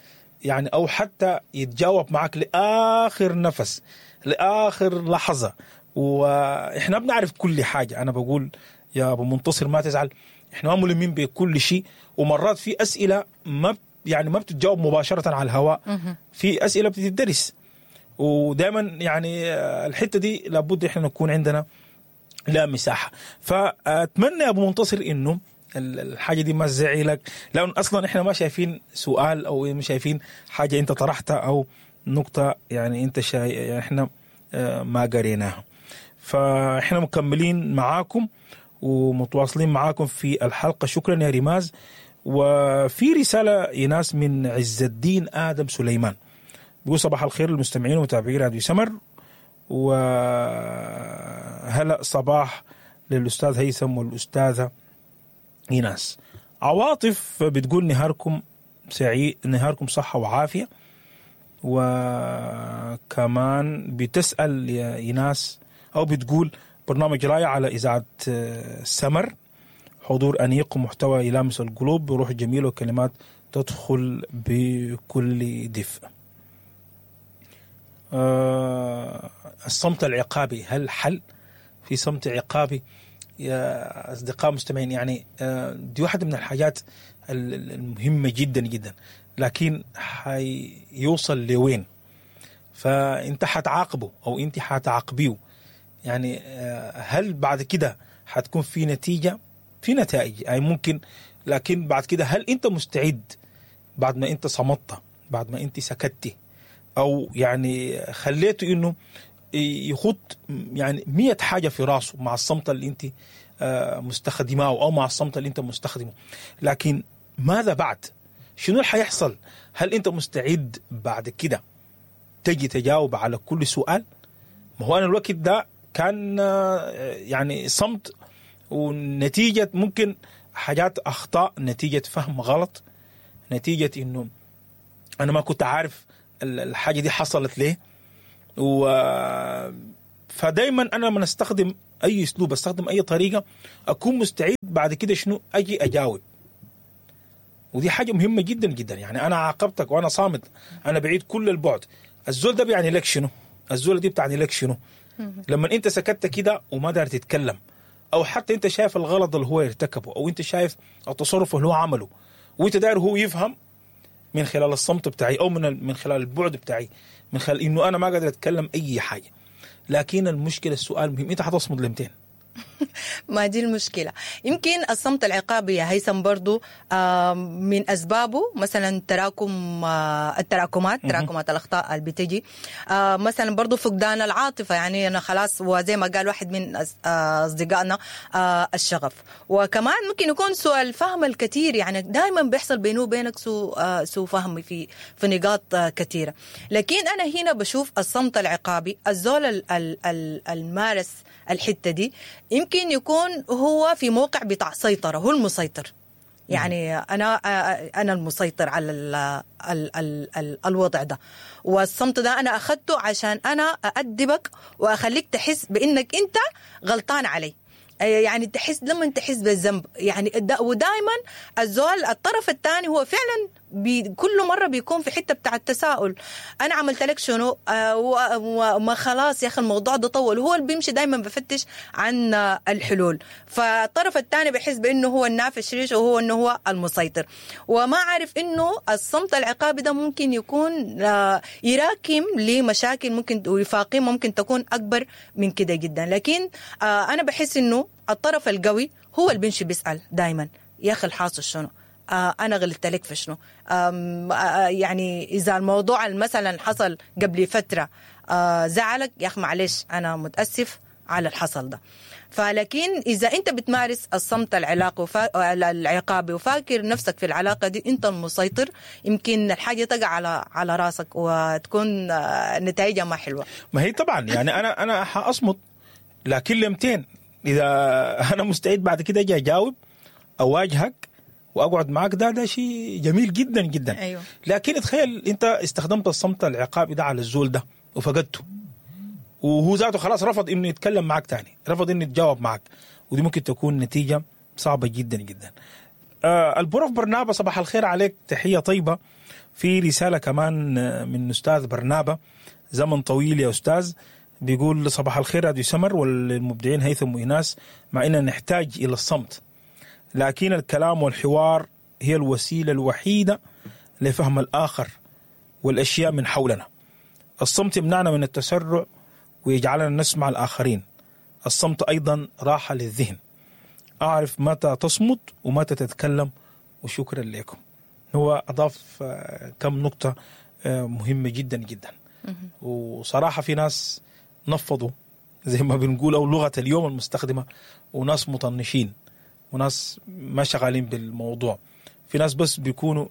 يعني أو حتى يتجاوب معك لآخر نفس، لآخر لحظة. وإحنا بنعرف كل حاجة. أنا بقول يا أبو منتصر ما تزعل، إحنا ما ملمين بكل شيء، ومرات في أسئلة ما يعني ما بتتجاوب مباشرة على الهواء، في أسئلة بتدرس، ودائما يعني الحتة دي لابد إحنا نكون عندنا لا مساحة. فأتمنى يا أبو منتصر إنه الحاجة دي ما تزعلك، لأن أصلا إحنا ما شايفين سؤال أو ما شايفين حاجة أنت طرحتها أو نقطة يعني أنت شاي يعني إحنا ما قريناها. فإحنا مكملين معاكم ومتواصلين معاكم في الحلقة. شكرا يا ريماز. وفي رسالة يناس من عز الدين آدم سليمان بيقول صباح الخير للمستمعين ومتابعي راديو سمر، وهلا صباح للأستاذ هيثم والأستاذة إيناس. عواطف بتقول نهاركم سعيد، نهاركم صحة وعافية. وكمان بتسأل يا إيناس أو بتقول برنامج رائع على إذاعة سمر، حضور أنيق ومحتوى يلامس القلوب بروح جميلة وكلمات تدخل بكل دفء. أه الصمت العقابي، هل حل في صمت عقابي؟ يا اصدقاء مستمعين، يعني آه، دي واحدة من الحاجات ال- ال- المهمة جدا جدا، لكن حيوصل لوين؟ فانت حتعاقبه او انت حتعاقبيه، يعني آه، هل بعد كده حتكون في نتيجة؟ في نتائج اي ممكن، لكن بعد كده هل انت مستعد بعد ما انت صمت، بعد ما انت سكتي، او يعني خليته انه يخط يعني مية حاجة في راسه مع الصمت اللي انت آه، مستخدماه او مع الصمت اللي انت مستخدمة، لكن ماذا بعد؟ شنو اللي حيحصل؟ هل انت مستعد بعد كده تجي تجاوب على كل سؤال؟ ما هو انا الوقت ده كان آه، يعني صمت، ونتيجة ممكن حاجات اخطاء، نتيجة فهم غلط، نتيجة انه انا ما كنت عارف ال- الحاجة دي حصلت ليه. و فدايما انا لما استخدم اي اسلوب، استخدم اي طريقه، اكون مستعد بعد كده شنو اجي اجاوب. ودي حاجة مهمة جدا جدا. يعني انا عاقبتك وانا صامت، انا بعيد كل البعد، الزول ده بيعني لك شنو؟ الزول دي بتعني لك شنو؟ لما انت سكت كده وما دار تتكلم، او حتى انت شايف الغلط اللي هو ارتكبه، او انت شايف التصرف اللي هو عمله، وانت داير هو يفهم من خلال الصمت بتاعي، او من من خلال البعد بتاعي، من خلال انه انا ما قادر اتكلم اي حاجة. لكن المشكلة، السؤال مهم، انت حتصمد لمتين؟ ما دي المشكلة. يمكن الصمت العقابي يا هيثم برضو آه، من أسبابه مثلا تراكم، آه، التراكمات، تراكمات الأخطاء اللي بتجي، آه، مثلا برضو فقدان العاطفة، يعني أنا خلاص، وزي ما قال واحد من أص- آه، أصدقائنا آه، الشغف. وكمان ممكن يكون سوء الفهم الكثير، يعني دائما بيحصل بينه وبينك سوء آه، سوء فهم في في نقاط آه، كثيرة. لكن أنا هنا بشوف الصمت العقابي، الزول ال- ال- ال- المارس الحتة دي يمكن يكون هو في موقع بتاع سيطرة، هو المسيطر، يعني أنا أنا المسيطر على ال ال ال ال الوضع ده، والصمت ده أنا أخذته عشان أنا أأدبك وأخليك تحس بإنك أنت غلطان علي، يعني تحس لما تحس بالذنب، يعني ودائما الزول الطرف الثاني هو فعلا بي كل مرة بيكون في حتة بتاع التساؤل، انا عملت لك شنو؟ آه وما خلاص يا اخي الموضوع ده طول، هو اللي بيمشي دائما بفتش عن الحلول، فالطرف الثاني بيحس بانه هو النافش ريش وهو انه هو المسيطر، وما عارف انه الصمت العقابي ده ممكن يكون آه يراكم لمشاكل ممكن وفاقيه ممكن تكون اكبر من كده جدا. لكن آه انا بحس انه الطرف القوي هو اللي بيمشي بيسال دائما، يا اخي الحاصل شنو؟ آه أنا غلطت لك في شنو؟ آه يعني إذا الموضوع مثلا حصل قبل فترة آه زعلك يا أخي معلش أنا متأسف على الحصل ده. فلكن إذا أنت بتمارس الصمت العلاقي وفا... العقابي وفاكر نفسك في العلاقة دي أنت المسيطر، يمكن الحاجة تقع على على راسك وتكون آه نتائجها ما حلوة. ما هي طبعا يعني أنا أنا حأصمت، لكن لمتين؟ إذا أنا مستعد بعد كده أجي أجاوب أواجهك واقعد معاك، ده ده شيء جميل جدا جدا. أيوه. لكن تخيل انت استخدمت الصمت العقابي ده على الزول ده وفقدته، وهو ذاته خلاص رفض انه يتكلم معاك تاني، رفض انه يتجاوب معاك، ودي ممكن تكون نتيجة صعبة جدا جدا. آه البروف برنابا صباح الخير عليك، تحية طيبة. في رسالة كمان من استاذ برنابا، زمن طويل يا استاذ، بيقول صباح الخير راديو سمر والمبدعين هيثم وإيناس، مع اننا نحتاج الى الصمت، لكن الكلام والحوار هي الوسيلة الوحيدة لفهم الآخر والأشياء من حولنا. الصمت يمنعنا من التسرع ويجعلنا نسمع الآخرين. الصمت أيضا راحة للذهن. أعرف متى تصمت ومتى تتكلم، وشكرا لكم. هو أضاف كم نقطة مهمة جدا جدا، وصراحة في ناس نفضوا زي ما بنقول، أو لغة اليوم المستخدمة، وناس مطنشين، وناس ما شغالين بالموضوع. في ناس بس بيكونوا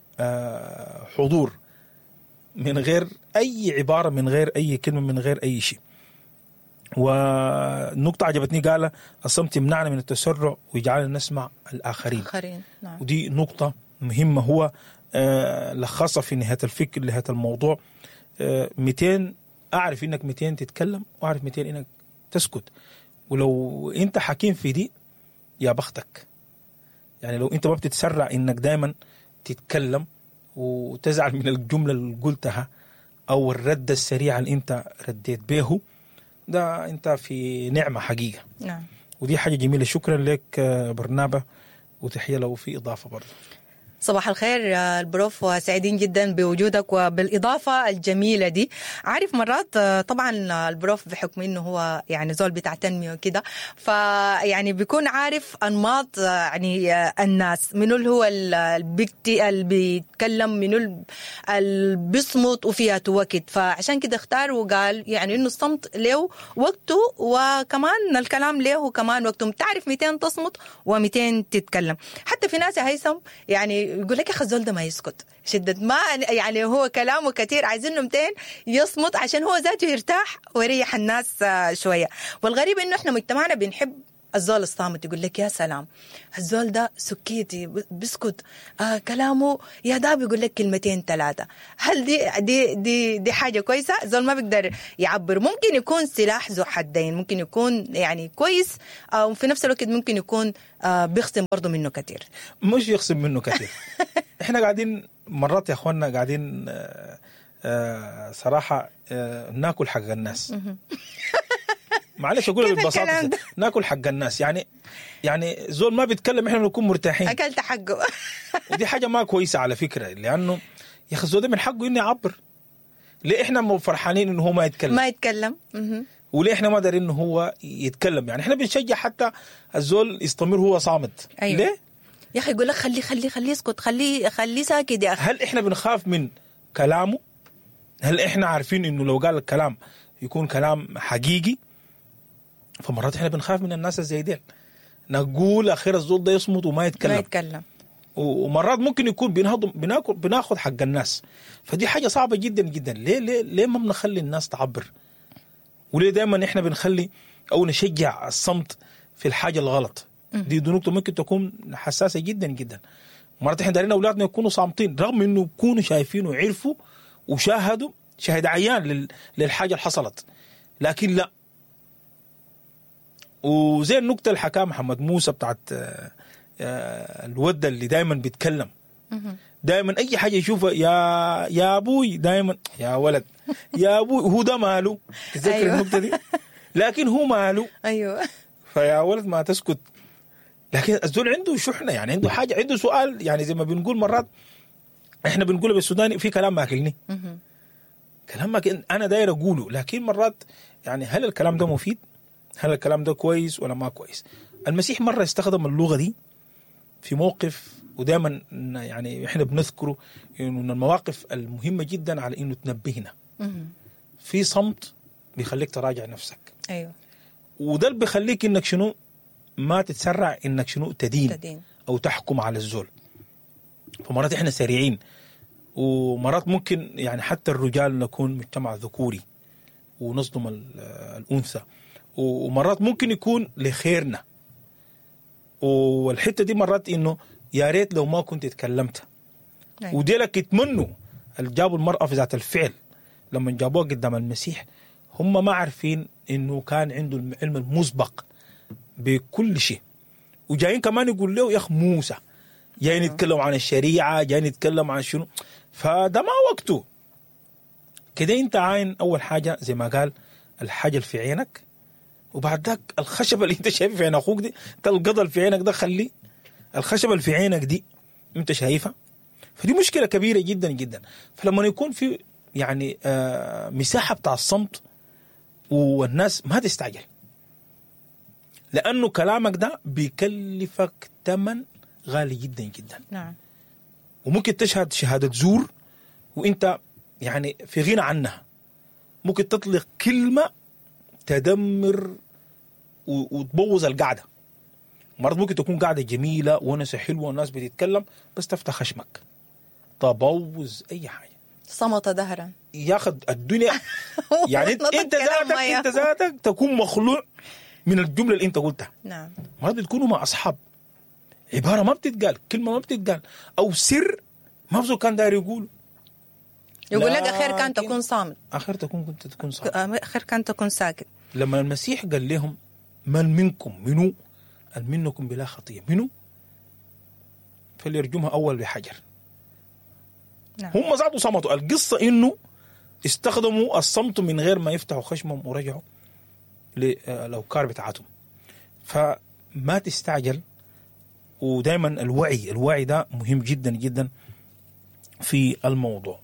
حضور من غير أي عبارة، من غير أي كلمة، من غير أي شيء. ونقطة عجبتني قال الصمت يمنعنا من التسرع ويجعلنا نسمع الآخرين. آخرين. نعم. ودي نقطة مهمة هو لخصها في نهاية الفكر لهذا الموضوع. مئتين أعرف إنك مئتين تتكلم، وأعرف مئتين إنك تسكت. ولو أنت حكيم في دي يا بختك. يعني لو انت ما بتتسرع انك دايما تتكلم وتزعل من الجملة اللي قلتها او الرد السريع اللي انت رديت به، ده انت في نعمة حقيقة. نعم. ودي حاجة جميلة. شكرا لك برنابا، وتحية لو في اضافه برضه. صباح الخير البروف، وسعيدين جدا بوجودك وبالإضافة الجميلة دي. عارف مرات طبعا البروف بحكم انه هو يعني زول بتاع تنمية وكده، فيعني بيكون عارف أنماط يعني الناس، منو اللي هو اللي بيتكلم، منو اللي بيصمت وفيها وقت. فعشان كده اختار وقال يعني انه الصمت له وقته وكمان الكلام له كمان وقته. بتعرف مئتين تصمت ومئتين تتكلم. حتى في ناس يا هيثم يعني يقول لك يا اخي الزول ده ما يسكت، شدة ما يعني هو كلامه كثير، عايزينه مئتين يصمت عشان هو ذاته يرتاح ويريح الناس شوية. والغريب انه احنا مجتمعنا بنحب الزول الصامت، يقول لك يا سلام الزول ده سكيتي بيسكت، آه كلامه يا ده بيقول لك كلمتين ثلاثة. هل دي دي دي دي حاجة كويسة؟ الزول ما بيقدر يعبر. ممكن يكون سلاح ذو حدين، ممكن يكون يعني كويس او في نفس الوقت ممكن يكون آه بيخصم برضه منه كثير. مش يخصم منه كثير. احنا قاعدين مرات يا اخواننا قاعدين آه آه صراحة آه ناكل حق الناس. معلش اقول ببساطة ناكل حق الناس، يعني يعني زول ما بيتكلم احنا بنكون مرتاحين، اكلت حقه. ودي حاجة ما كويسة على فكرة، لانه يا اخي الزول ده من حقه انه يعبر. ليه احنا مو فرحانين انه هو ما يتكلم؟ ما يتكلم. وليه احنا ما دارين انه هو يتكلم؟ يعني احنا بنشجع حتى الزول يستمر هو صامت. أيوة. ليه يا اخي يقول لك خليه خليه خليه يسكت، خليه خليه ساكت يا اخي. هل احنا بنخاف من كلامه؟ هل احنا عارفين انه لو قال الكلام يكون كلام حقيقي؟ فمرات احنا بنخاف من الناس زي ديل، نقول اخير الزول ده يصمت وما يتكلم. ما يتكلم. ومرات ممكن يكون بنهضم بناكل بناخذ حق الناس، فدي حاجة صعبة جدا جدا. ليه ليه ليه ما بنخلي الناس تعبر؟ وليه دائما احنا بنخلي او نشجع الصمت في الحاجة الغلط؟ دي, دي نقطة ممكن تكون حساسة جدا جدا. مرات احنا دارين اولادنا يكونوا صامتين رغم انه يكونوا شايفين وعرفوا وشاهدوا شاهد عيان للحاجة اللي حصلت، لكن لا. وزي النكتة اللي حكاها محمد موسى بتاعت الودة اللي دايما بيتكلم، دايما اي حاجة يشوفها يا يا ابوي، دايما يا ولد يا ابوي، هو ده ماله؟ تذكر أيوة. النكتة دي؟ لكن هو ماله؟ ايوه. فيا ولد ما تسكت. لكن الزول عنده شحنه، يعني عنده حاجة، عنده سؤال، يعني زي ما بنقول مرات احنا بنقول بالسوداني في كلام ماكلني، كلام ما انا داير اقوله، لكن مرات يعني هل الكلام ده مفيد؟ هل الكلام ده كويس ولا ما كويس؟ المسيح مرة استخدم اللغة دي في موقف، ودائما يعني احنا بنذكره انه من المواقف المهمة جدا على انه تنبهنا. في صمت بيخليك تراجع نفسك. ايوه. وده اللي بيخليك انك شنو ما تتسرع انك شنو تدين, تدين او تحكم على الزول. فمرات احنا سريعين، ومرات ممكن يعني حتى الرجال نكون مجتمع ذكوري ونصدم الأنثى، ومرات ممكن يكون لخيرنا. والحتة دي مرات إنه يا ريت لو ما كنت اتكلمت. أيوة. وديلك يتمنوا اللي جابوا المرأة في ذات الفعل لما جابوها قدام المسيح، هم ما عارفين إنه كان عنده العلم المسبق بكل شيء، وجايين كمان يقول له يا أخ موسى، جايين يتكلم عن الشريعة، جايين يتكلم عن شنو، فده ما وقته كده. انت عاين أول حاجة زي ما قال الحاجة في عينك، وبعد ذاك الخشبة اللي انت شايفها في عين أخوك دي، انت القضل في عينك ده خلي الخشبة اللي في عينك دي انت شايفها. فدي مشكلة كبيرة جدا جدا. فلما يكون في يعني آه مساحة بتاع الصمت والناس ما تستعجل، لأنه كلامك ده بيكلفك ثمن غالي جدا جدا. نعم. وممكن تشهد شهادة زور وانت يعني في غنى عنها. ممكن تطلق كلمة تدمر وتبوظ القعدة. مرات ممكن تكون قعدة جميلة ونسة حلوة والناس بتتكلم، بس تفتح خشمك تبوظ أي حاجة. صمت دهرا ياخد الدنيا. يعني انت, انت ذاتك انت ذاتك تكون مخلوع من الجملة اللي انت قلتها. نعم. مرات بتكونوا مع أصحاب، عبارة ما بتتقال، كلمة ما بتتقال، أو سر ما بزو كان داير يقوله، يقول لك أخير كان تكون صامت، أخير تكون كنت تكون صامت، أخير كان تكون ساكت. لما المسيح قال لهم من منكم منو منكم بلا خطية منو فليرجمها أول بحجر. نعم. هم زادوا صمتوا. القصة إنه استخدموا الصمت من غير ما يفتحوا خشمهم ورجعوا للأوكار بتاعتهم. فما تستعجل، ودائما الوعي الوعي ده مهم جدا جدا في الموضوع.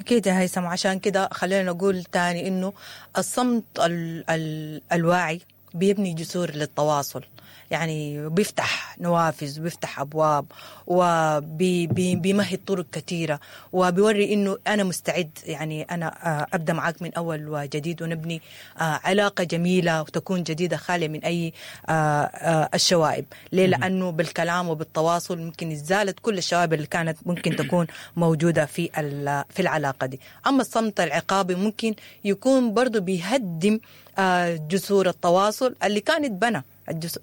أكيد يا هيثم، عشان كده خلينا نقول تاني إنه الصمت ال ال الواعي بيبني جسور للتواصل، يعني بيفتح نوافذ وبيفتح أبواب وبيمهد طرق كثيرة، وبيوري إنه أنا مستعد، يعني أنا أبدأ معاك من أول وجديد ونبني علاقة جميلة وتكون جديدة خالية من أي الشوائب. ليه؟ لأنه بالكلام وبالتواصل ممكن إزالة كل الشوائب اللي كانت ممكن تكون موجودة في في العلاقة دي. أما الصمت العقابي ممكن يكون برضو بيهدم جسور التواصل اللي كانت بنى،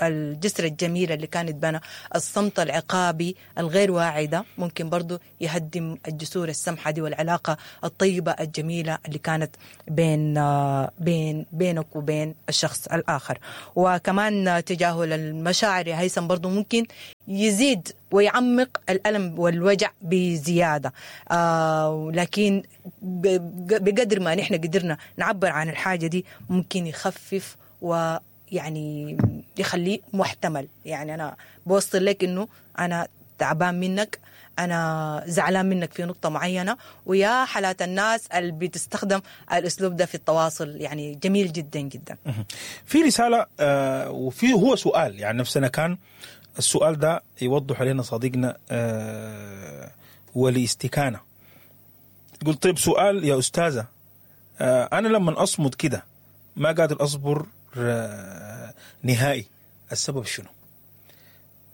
الجسر الجميل اللي كانت بنى. الصمت العقابي الغير واعي ده ممكن برضو يهدم الجسور السمحة دي والعلاقة الطيبة الجميلة اللي كانت بين بين بينك وبين الشخص الآخر. وكمان تجاهل المشاعر يا هيثم برضو ممكن يزيد ويعمق الألم والوجع بزيادة، آه لكن بقدر ما نحن قدرنا نعبر عن الحاجة دي ممكن يخفف و يعني يخليه محتمل. يعني أنا بوصل لك إنه أنا تعبان منك، أنا زعلان منك في نقطة معينة، ويا حالات الناس اللي بتستخدم الأسلوب ده في التواصل يعني جميل جدا جدا. في رسالة آه وفي هو سؤال، يعني نفسنا كان السؤال ده يوضح علينا صديقنا آه ولاستكانة. قلت طيب سؤال يا أستاذة، آه أنا لما أصمت كده ما قادر أصبر نهائي، السبب شنو؟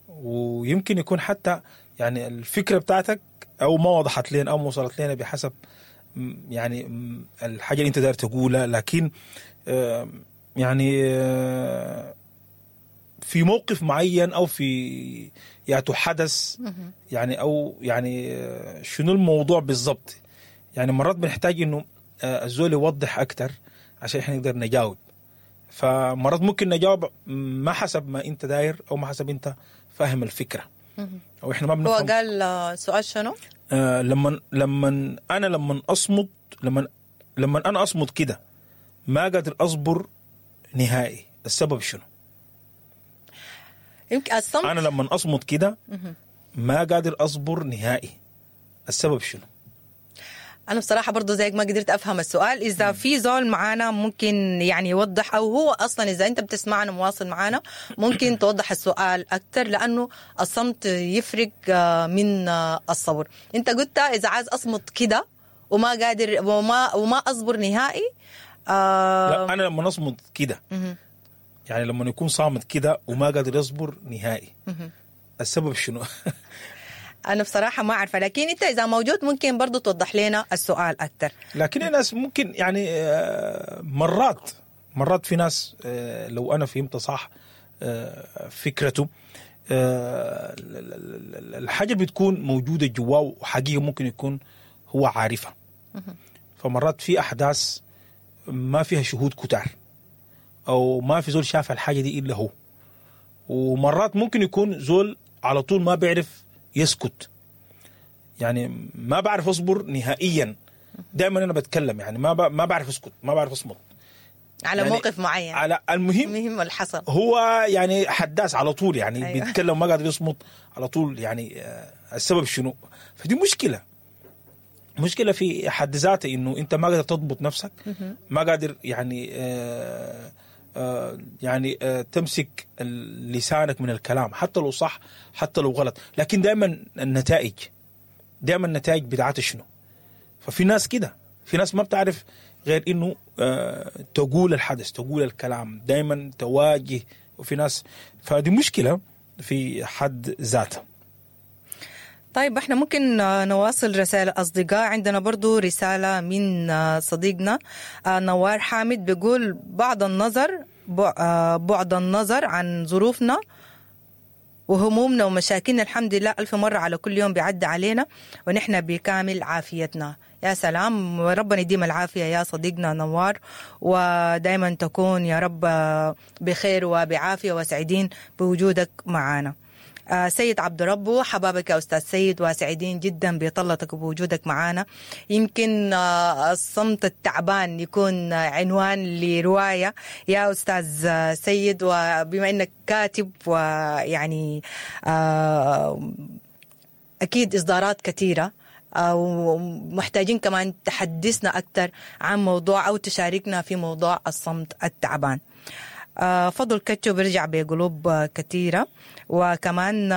ويمكن يكون حتى يعني الفكرة بتاعتك أو ما وضحت لنا أو ما وصلت لنا بحسب يعني الحاجة اللي أنت داير تقولها، لكن يعني في موقف معين أو في يعني حدث يعني أو يعني شنو الموضوع بالضبط. يعني مرات بنحتاج إنه الزول يوضح أكتر عشان إحنا نقدر نجاوب. فمرات ممكن نجاوب ما حسب ما انت داير او ما حسب انت فاهم الفكرة، او احنا ما بنفهم. هو قال سؤال شنو؟ آه لما لما انا لما اصمت لما لما انا اصمت كده ما قادر اصبر نهائي، السبب شنو؟ يمكن الصمت. انا لما اصمت كده ما قادر اصبر نهائي، السبب شنو؟ أنا بصراحة برضو زيك ما قدرت أفهم السؤال. إذا في زول معانا ممكن يعني يوضح، أو هو أصلا إذا أنت بتسمعنا مواصل معانا ممكن توضح السؤال أكتر، لأنه الصمت يفرق من الصبر. أنت قلت إذا عايز أصمت كده وما قادر وما وما أصبر نهائي. آه لا، أنا لما أصمت كده يعني لما يكون صامت كده وما قادر يصبر نهائي، السبب شنو؟ أنا بصراحة ما أعرفة، لكن أنت إذا موجود ممكن برضو توضح لنا السؤال أكتر. لكن الناس ممكن يعني مرات مرات في ناس لو أنا فهمت صح فكرته، الحاجة بتكون موجودة جواه وحقيقة ممكن يكون هو عارفها. فمرات في أحداث ما فيها شهود كتار أو ما في زول شاف الحاجة دي إلا هو، ومرات ممكن يكون زول على طول ما بيعرف يسكت، يعني ما بعرف أصبر نهائيا، دائما أنا بتكلم، يعني ما ب... ما بعرف أسكت، ما بعرف أصمت على يعني موقف معين، على المهم المهم اللي حصل هو يعني حداث على طول، يعني أيوة. بيتكلم ما قادر يصمت على طول، يعني السبب شنو؟ فدي مشكلة مشكلة في حد ذاته، إنه أنت ما قادر تضبط نفسك، ما قادر يعني آه آه يعني آه تمسك لسانك من الكلام، حتى لو صح حتى لو غلط، لكن دائما النتائج دائما النتائج بتاعتها شنو؟ ففي ناس كده، في ناس ما بتعرف غير إنه آه تقول الحدث، تقول الكلام، دائما تواجه، وفي ناس فدي مشكلة في حد ذاتها. طيب احنا ممكن نواصل رسائل أصدقاء. عندنا برضو رسالة من صديقنا نوار حامد، بيقول بعض النظر بعد النظر عن ظروفنا وهمومنا ومشاكلنا، الحمد لله ألف مرة على كل يوم بيعدي علينا ونحن بكامل عافيتنا. يا سلام، ربنا يديم العافية يا صديقنا نوار، ودايما تكون يا رب بخير وبعافية وسعيدين بوجودك معنا. آه سيد عبد ربه، حبابك يا أستاذ سيد، وسعيدين جدا بطلتك وبوجودك معنا. يمكن آه الصمت التعبان يكون عنوان لرواية يا أستاذ سيد، وبما أنك كاتب ويعني آه أكيد إصدارات كثيرة، ومحتاجين كمان تحدثنا أكثر عن موضوع أو تشاركنا في موضوع الصمت التعبان. فضل كتشو بيرجع بقلوب كثيرة. وكمان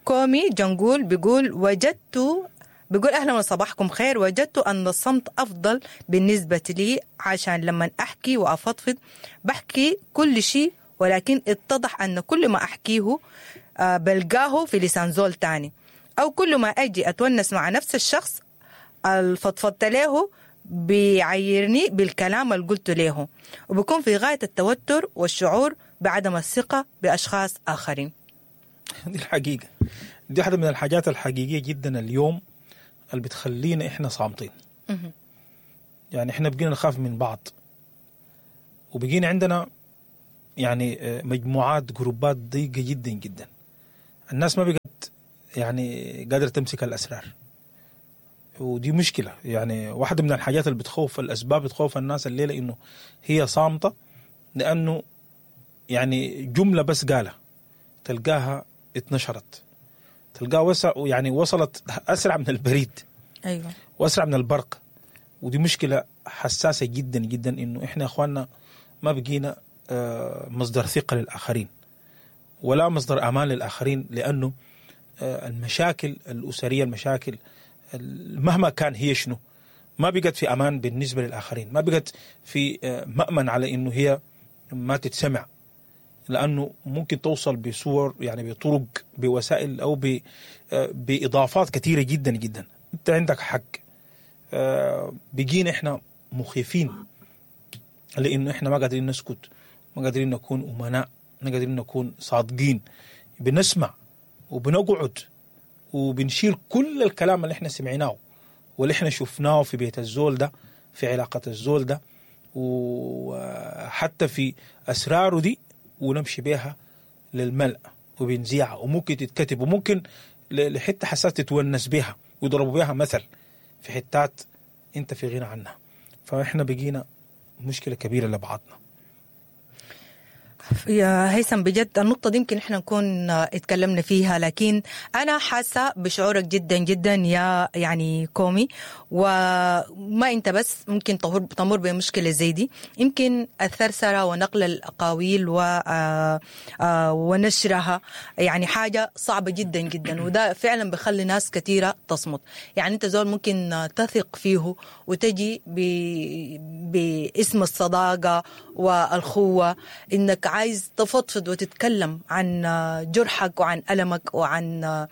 كومي جنقول بيقول وجدت، بيقول أهلا وصباحكم خير، وجدت أن الصمت أفضل بالنسبة لي، عشان لما أحكي وأفضفض بحكي كل شيء، ولكن اتضح أن كل ما أحكيه بلقاه في لسان زول تاني، أو كل ما أجي أتونس مع نفس الشخص الفضفضت له بيعيرني بالكلام اللي قلته له، وبكون في غاية التوتر والشعور بعدم الثقة بأشخاص آخرين. دي الحقيقة، دي واحدة من الحاجات الحقيقية جدا اليوم اللي بتخلينا إحنا صامتين. يعني إحنا بقينا نخاف من بعض، وبقينا عندنا يعني مجموعات جروبات ضيقة جدا جدا. الناس ما بقت يعني قادرة تمسك الأسرار، ودي مشكلة. يعني واحدة من الحاجات اللي بتخوف، الأسباب بتخوف الناس الليلة إنه هي صامتة، لأنه يعني جملة بس قالها تلقاها اتنشرت، تلقاها وسع يعني وصلت أسرع من البريد، أيوة، وأسرع من البرق. ودي مشكلة حساسة جدا جدا، إنه إحنا أخواننا ما بقينا مصدر ثقة للآخرين ولا مصدر أمان للآخرين، لأنه المشاكل الأسرية، المشاكل مهما كان هي شنو، ما بقت في أمان بالنسبة للآخرين، ما بقت في مأمن على إنه هي ما تتسمع، لأنه ممكن توصل بصور يعني بطرق بوسائل أو بإضافات كثيرة جدا جدا. أنت عندك حق، بقينا إحنا مخيفين لأنه إحنا ما قادرين نسكت، ما قادرين نكون أمناء، ما قادرين نكون صادقين. بنسمع وبنقعد وبنشيل كل الكلام اللي احنا سمعناه واللي احنا شفناه في بيت الزول ده، في علاقة الزول ده، وحتى في أسراره دي، ونمشي بيها للملأ وبنزيعها، وممكن تتكتب، وممكن لحتة حساس تتونس بيها ويضربوا بيها مثل في حتات انت في غنى عنها. فاحنا بقينا مشكلة كبيرة لبعضنا. يا هيثم بجد النقطة دي يمكن احنا نكون اتكلمنا فيها، لكن أنا حاسة بشعورك جدا جدا يا يعني كومي، وما أنت بس ممكن تمر بمشكلة زي دي. يمكن الثرثرة ونقل الأقاويل و ونشرها يعني حاجة صعبة جدا جدا، وده فعلا بخلي ناس كثيرة تصمت. يعني أنت زول ممكن تثق فيه وتجي باسم الصداقة والخوة، إنك عايز تفضفض وتتكلم عن جرحك وعن ألمك وعن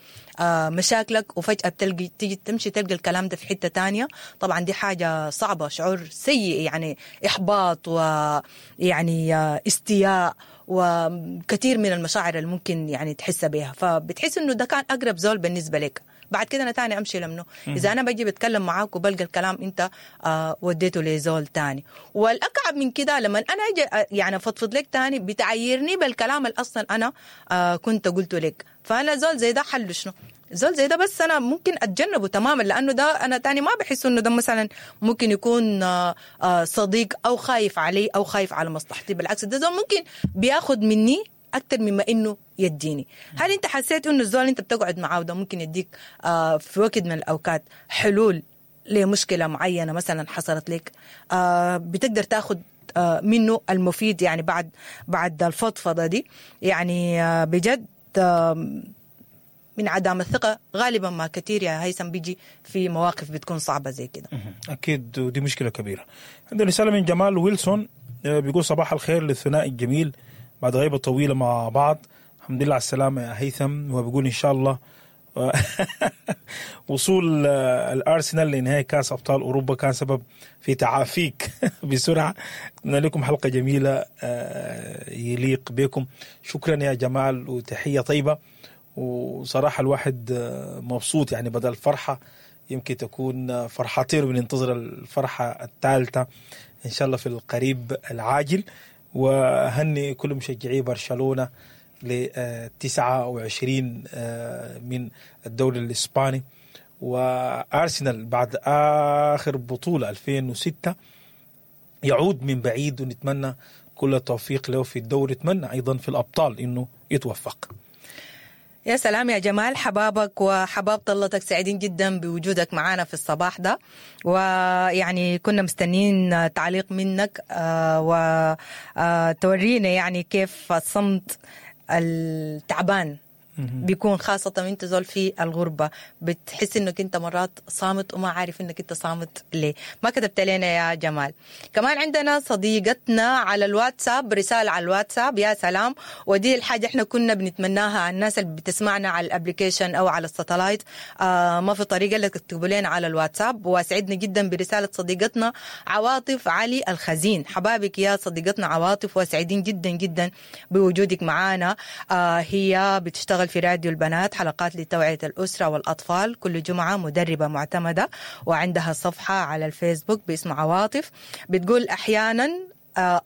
مشاكلك، وفجأة بتلقي تيجي تمشي تلقى الكلام ده في حتة تانية. طبعا دي حاجة صعبة، شعور سيء، يعني إحباط ويعني استياء وكثير من المشاعر اللي ممكن يعني تحس بها. فبتحس إنه ده كان أقرب زول بالنسبة لك، بعد كده أنا تاني أمشي لمنه. إذا أنا بجي بتكلم معاك وبلقى الكلام أنت آه وديته لزول تاني. والأكعب من كده لما أنا أجي يعني أفضفض لك تاني بتعيرني بالكلام اللي أصلا أنا آه كنت قلته لك. فأنا زول زي ده حل شنو؟ زول زي ده بس أنا ممكن أتجنبه تماما، لأنه ده أنا تاني ما بحس إنه ده مثلا ممكن يكون آه آه صديق أو خايف علي أو خايف على مصلحتي. بالعكس ده زول ممكن بياخد مني أكتر مما إنه يديني. هل أنت حسيت إنه الزول أنت بتقعد معاه ده ممكن يديك آه في وقت من الأوقات حلول لمشكلة معينة مثلا حصلت لك، آه بتقدر تاخد آه منه المفيد يعني بعد بعد الفضفضة دي؟ يعني آه بجد آه من عدم الثقة غالبا ما كثير يا هيثم بيجي في مواقف بتكون صعبة زي كده. أكيد، ودي مشكلة كبيرة. عندنا رسالة من جمال ويلسون بيقول صباح الخير للثنائي الجميل بعد غيبة طويلة مع بعض، الحمد لله على السلامة يا هيثم. وبيقول إن شاء الله وصول الأرسنال لنهائي كأس أبطال أوروبا كان سبب في تعافيك بسرعة. أتمنى لكم حلقة جميلة يليق بكم. شكرا يا جمال وتحية طيبة. وصراحة الواحد مبسوط، يعني بدل فرحة يمكن تكون فرحتين، بننتظر الفرحة الثالثة إن شاء الله في القريب العاجل. وهني كل مشجعي برشلونة ل تسعة وعشرين من الدوري الإسباني. وأرسنال بعد آخر بطولة ألفين وستة يعود من بعيد، ونتمنى كل التوفيق له في الدوري، نتمنى أيضا في الأبطال إنه يتوفق. يا سلام يا جمال، حبابك وحباب طلتك، سعيدين جدا بوجودك معنا في الصباح ده، ويعني كنا مستنين تعليق منك وتورينا يعني كيف الصمت التعبان بيكون، خاصة وانت زول في الغربة بتحس انك انت مرات صامت وما عارف انك انت صامت ليه. ما كتبت لنا يا جمال. كمان عندنا صديقتنا على الواتساب، رسالة على الواتساب، يا سلام، ودي الحاجة احنا كنا بنتمناها على الناس اللي بتسمعنا على ال application او على ال satellite، آه ما في طريقة اللي تكتبوا لنا على الواتساب. وسعدنا جدا برسالة صديقتنا عواطف علي الخزين. حبابك يا صديقتنا عواطف، وسعيدين جدا جدا بوجودك معانا. آه هي بتشتغل في راديو البنات، حلقات لتوعية الأسرة والأطفال كل جمعة، مدربة معتمدة، وعندها صفحة على الفيسبوك باسم عواطف. بتقول أحيانا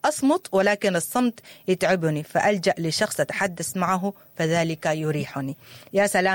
أصمت ولكن الصمت يتعبني، فألجأ لشخص أتحدث معه فذلك يريحني. يا سلام.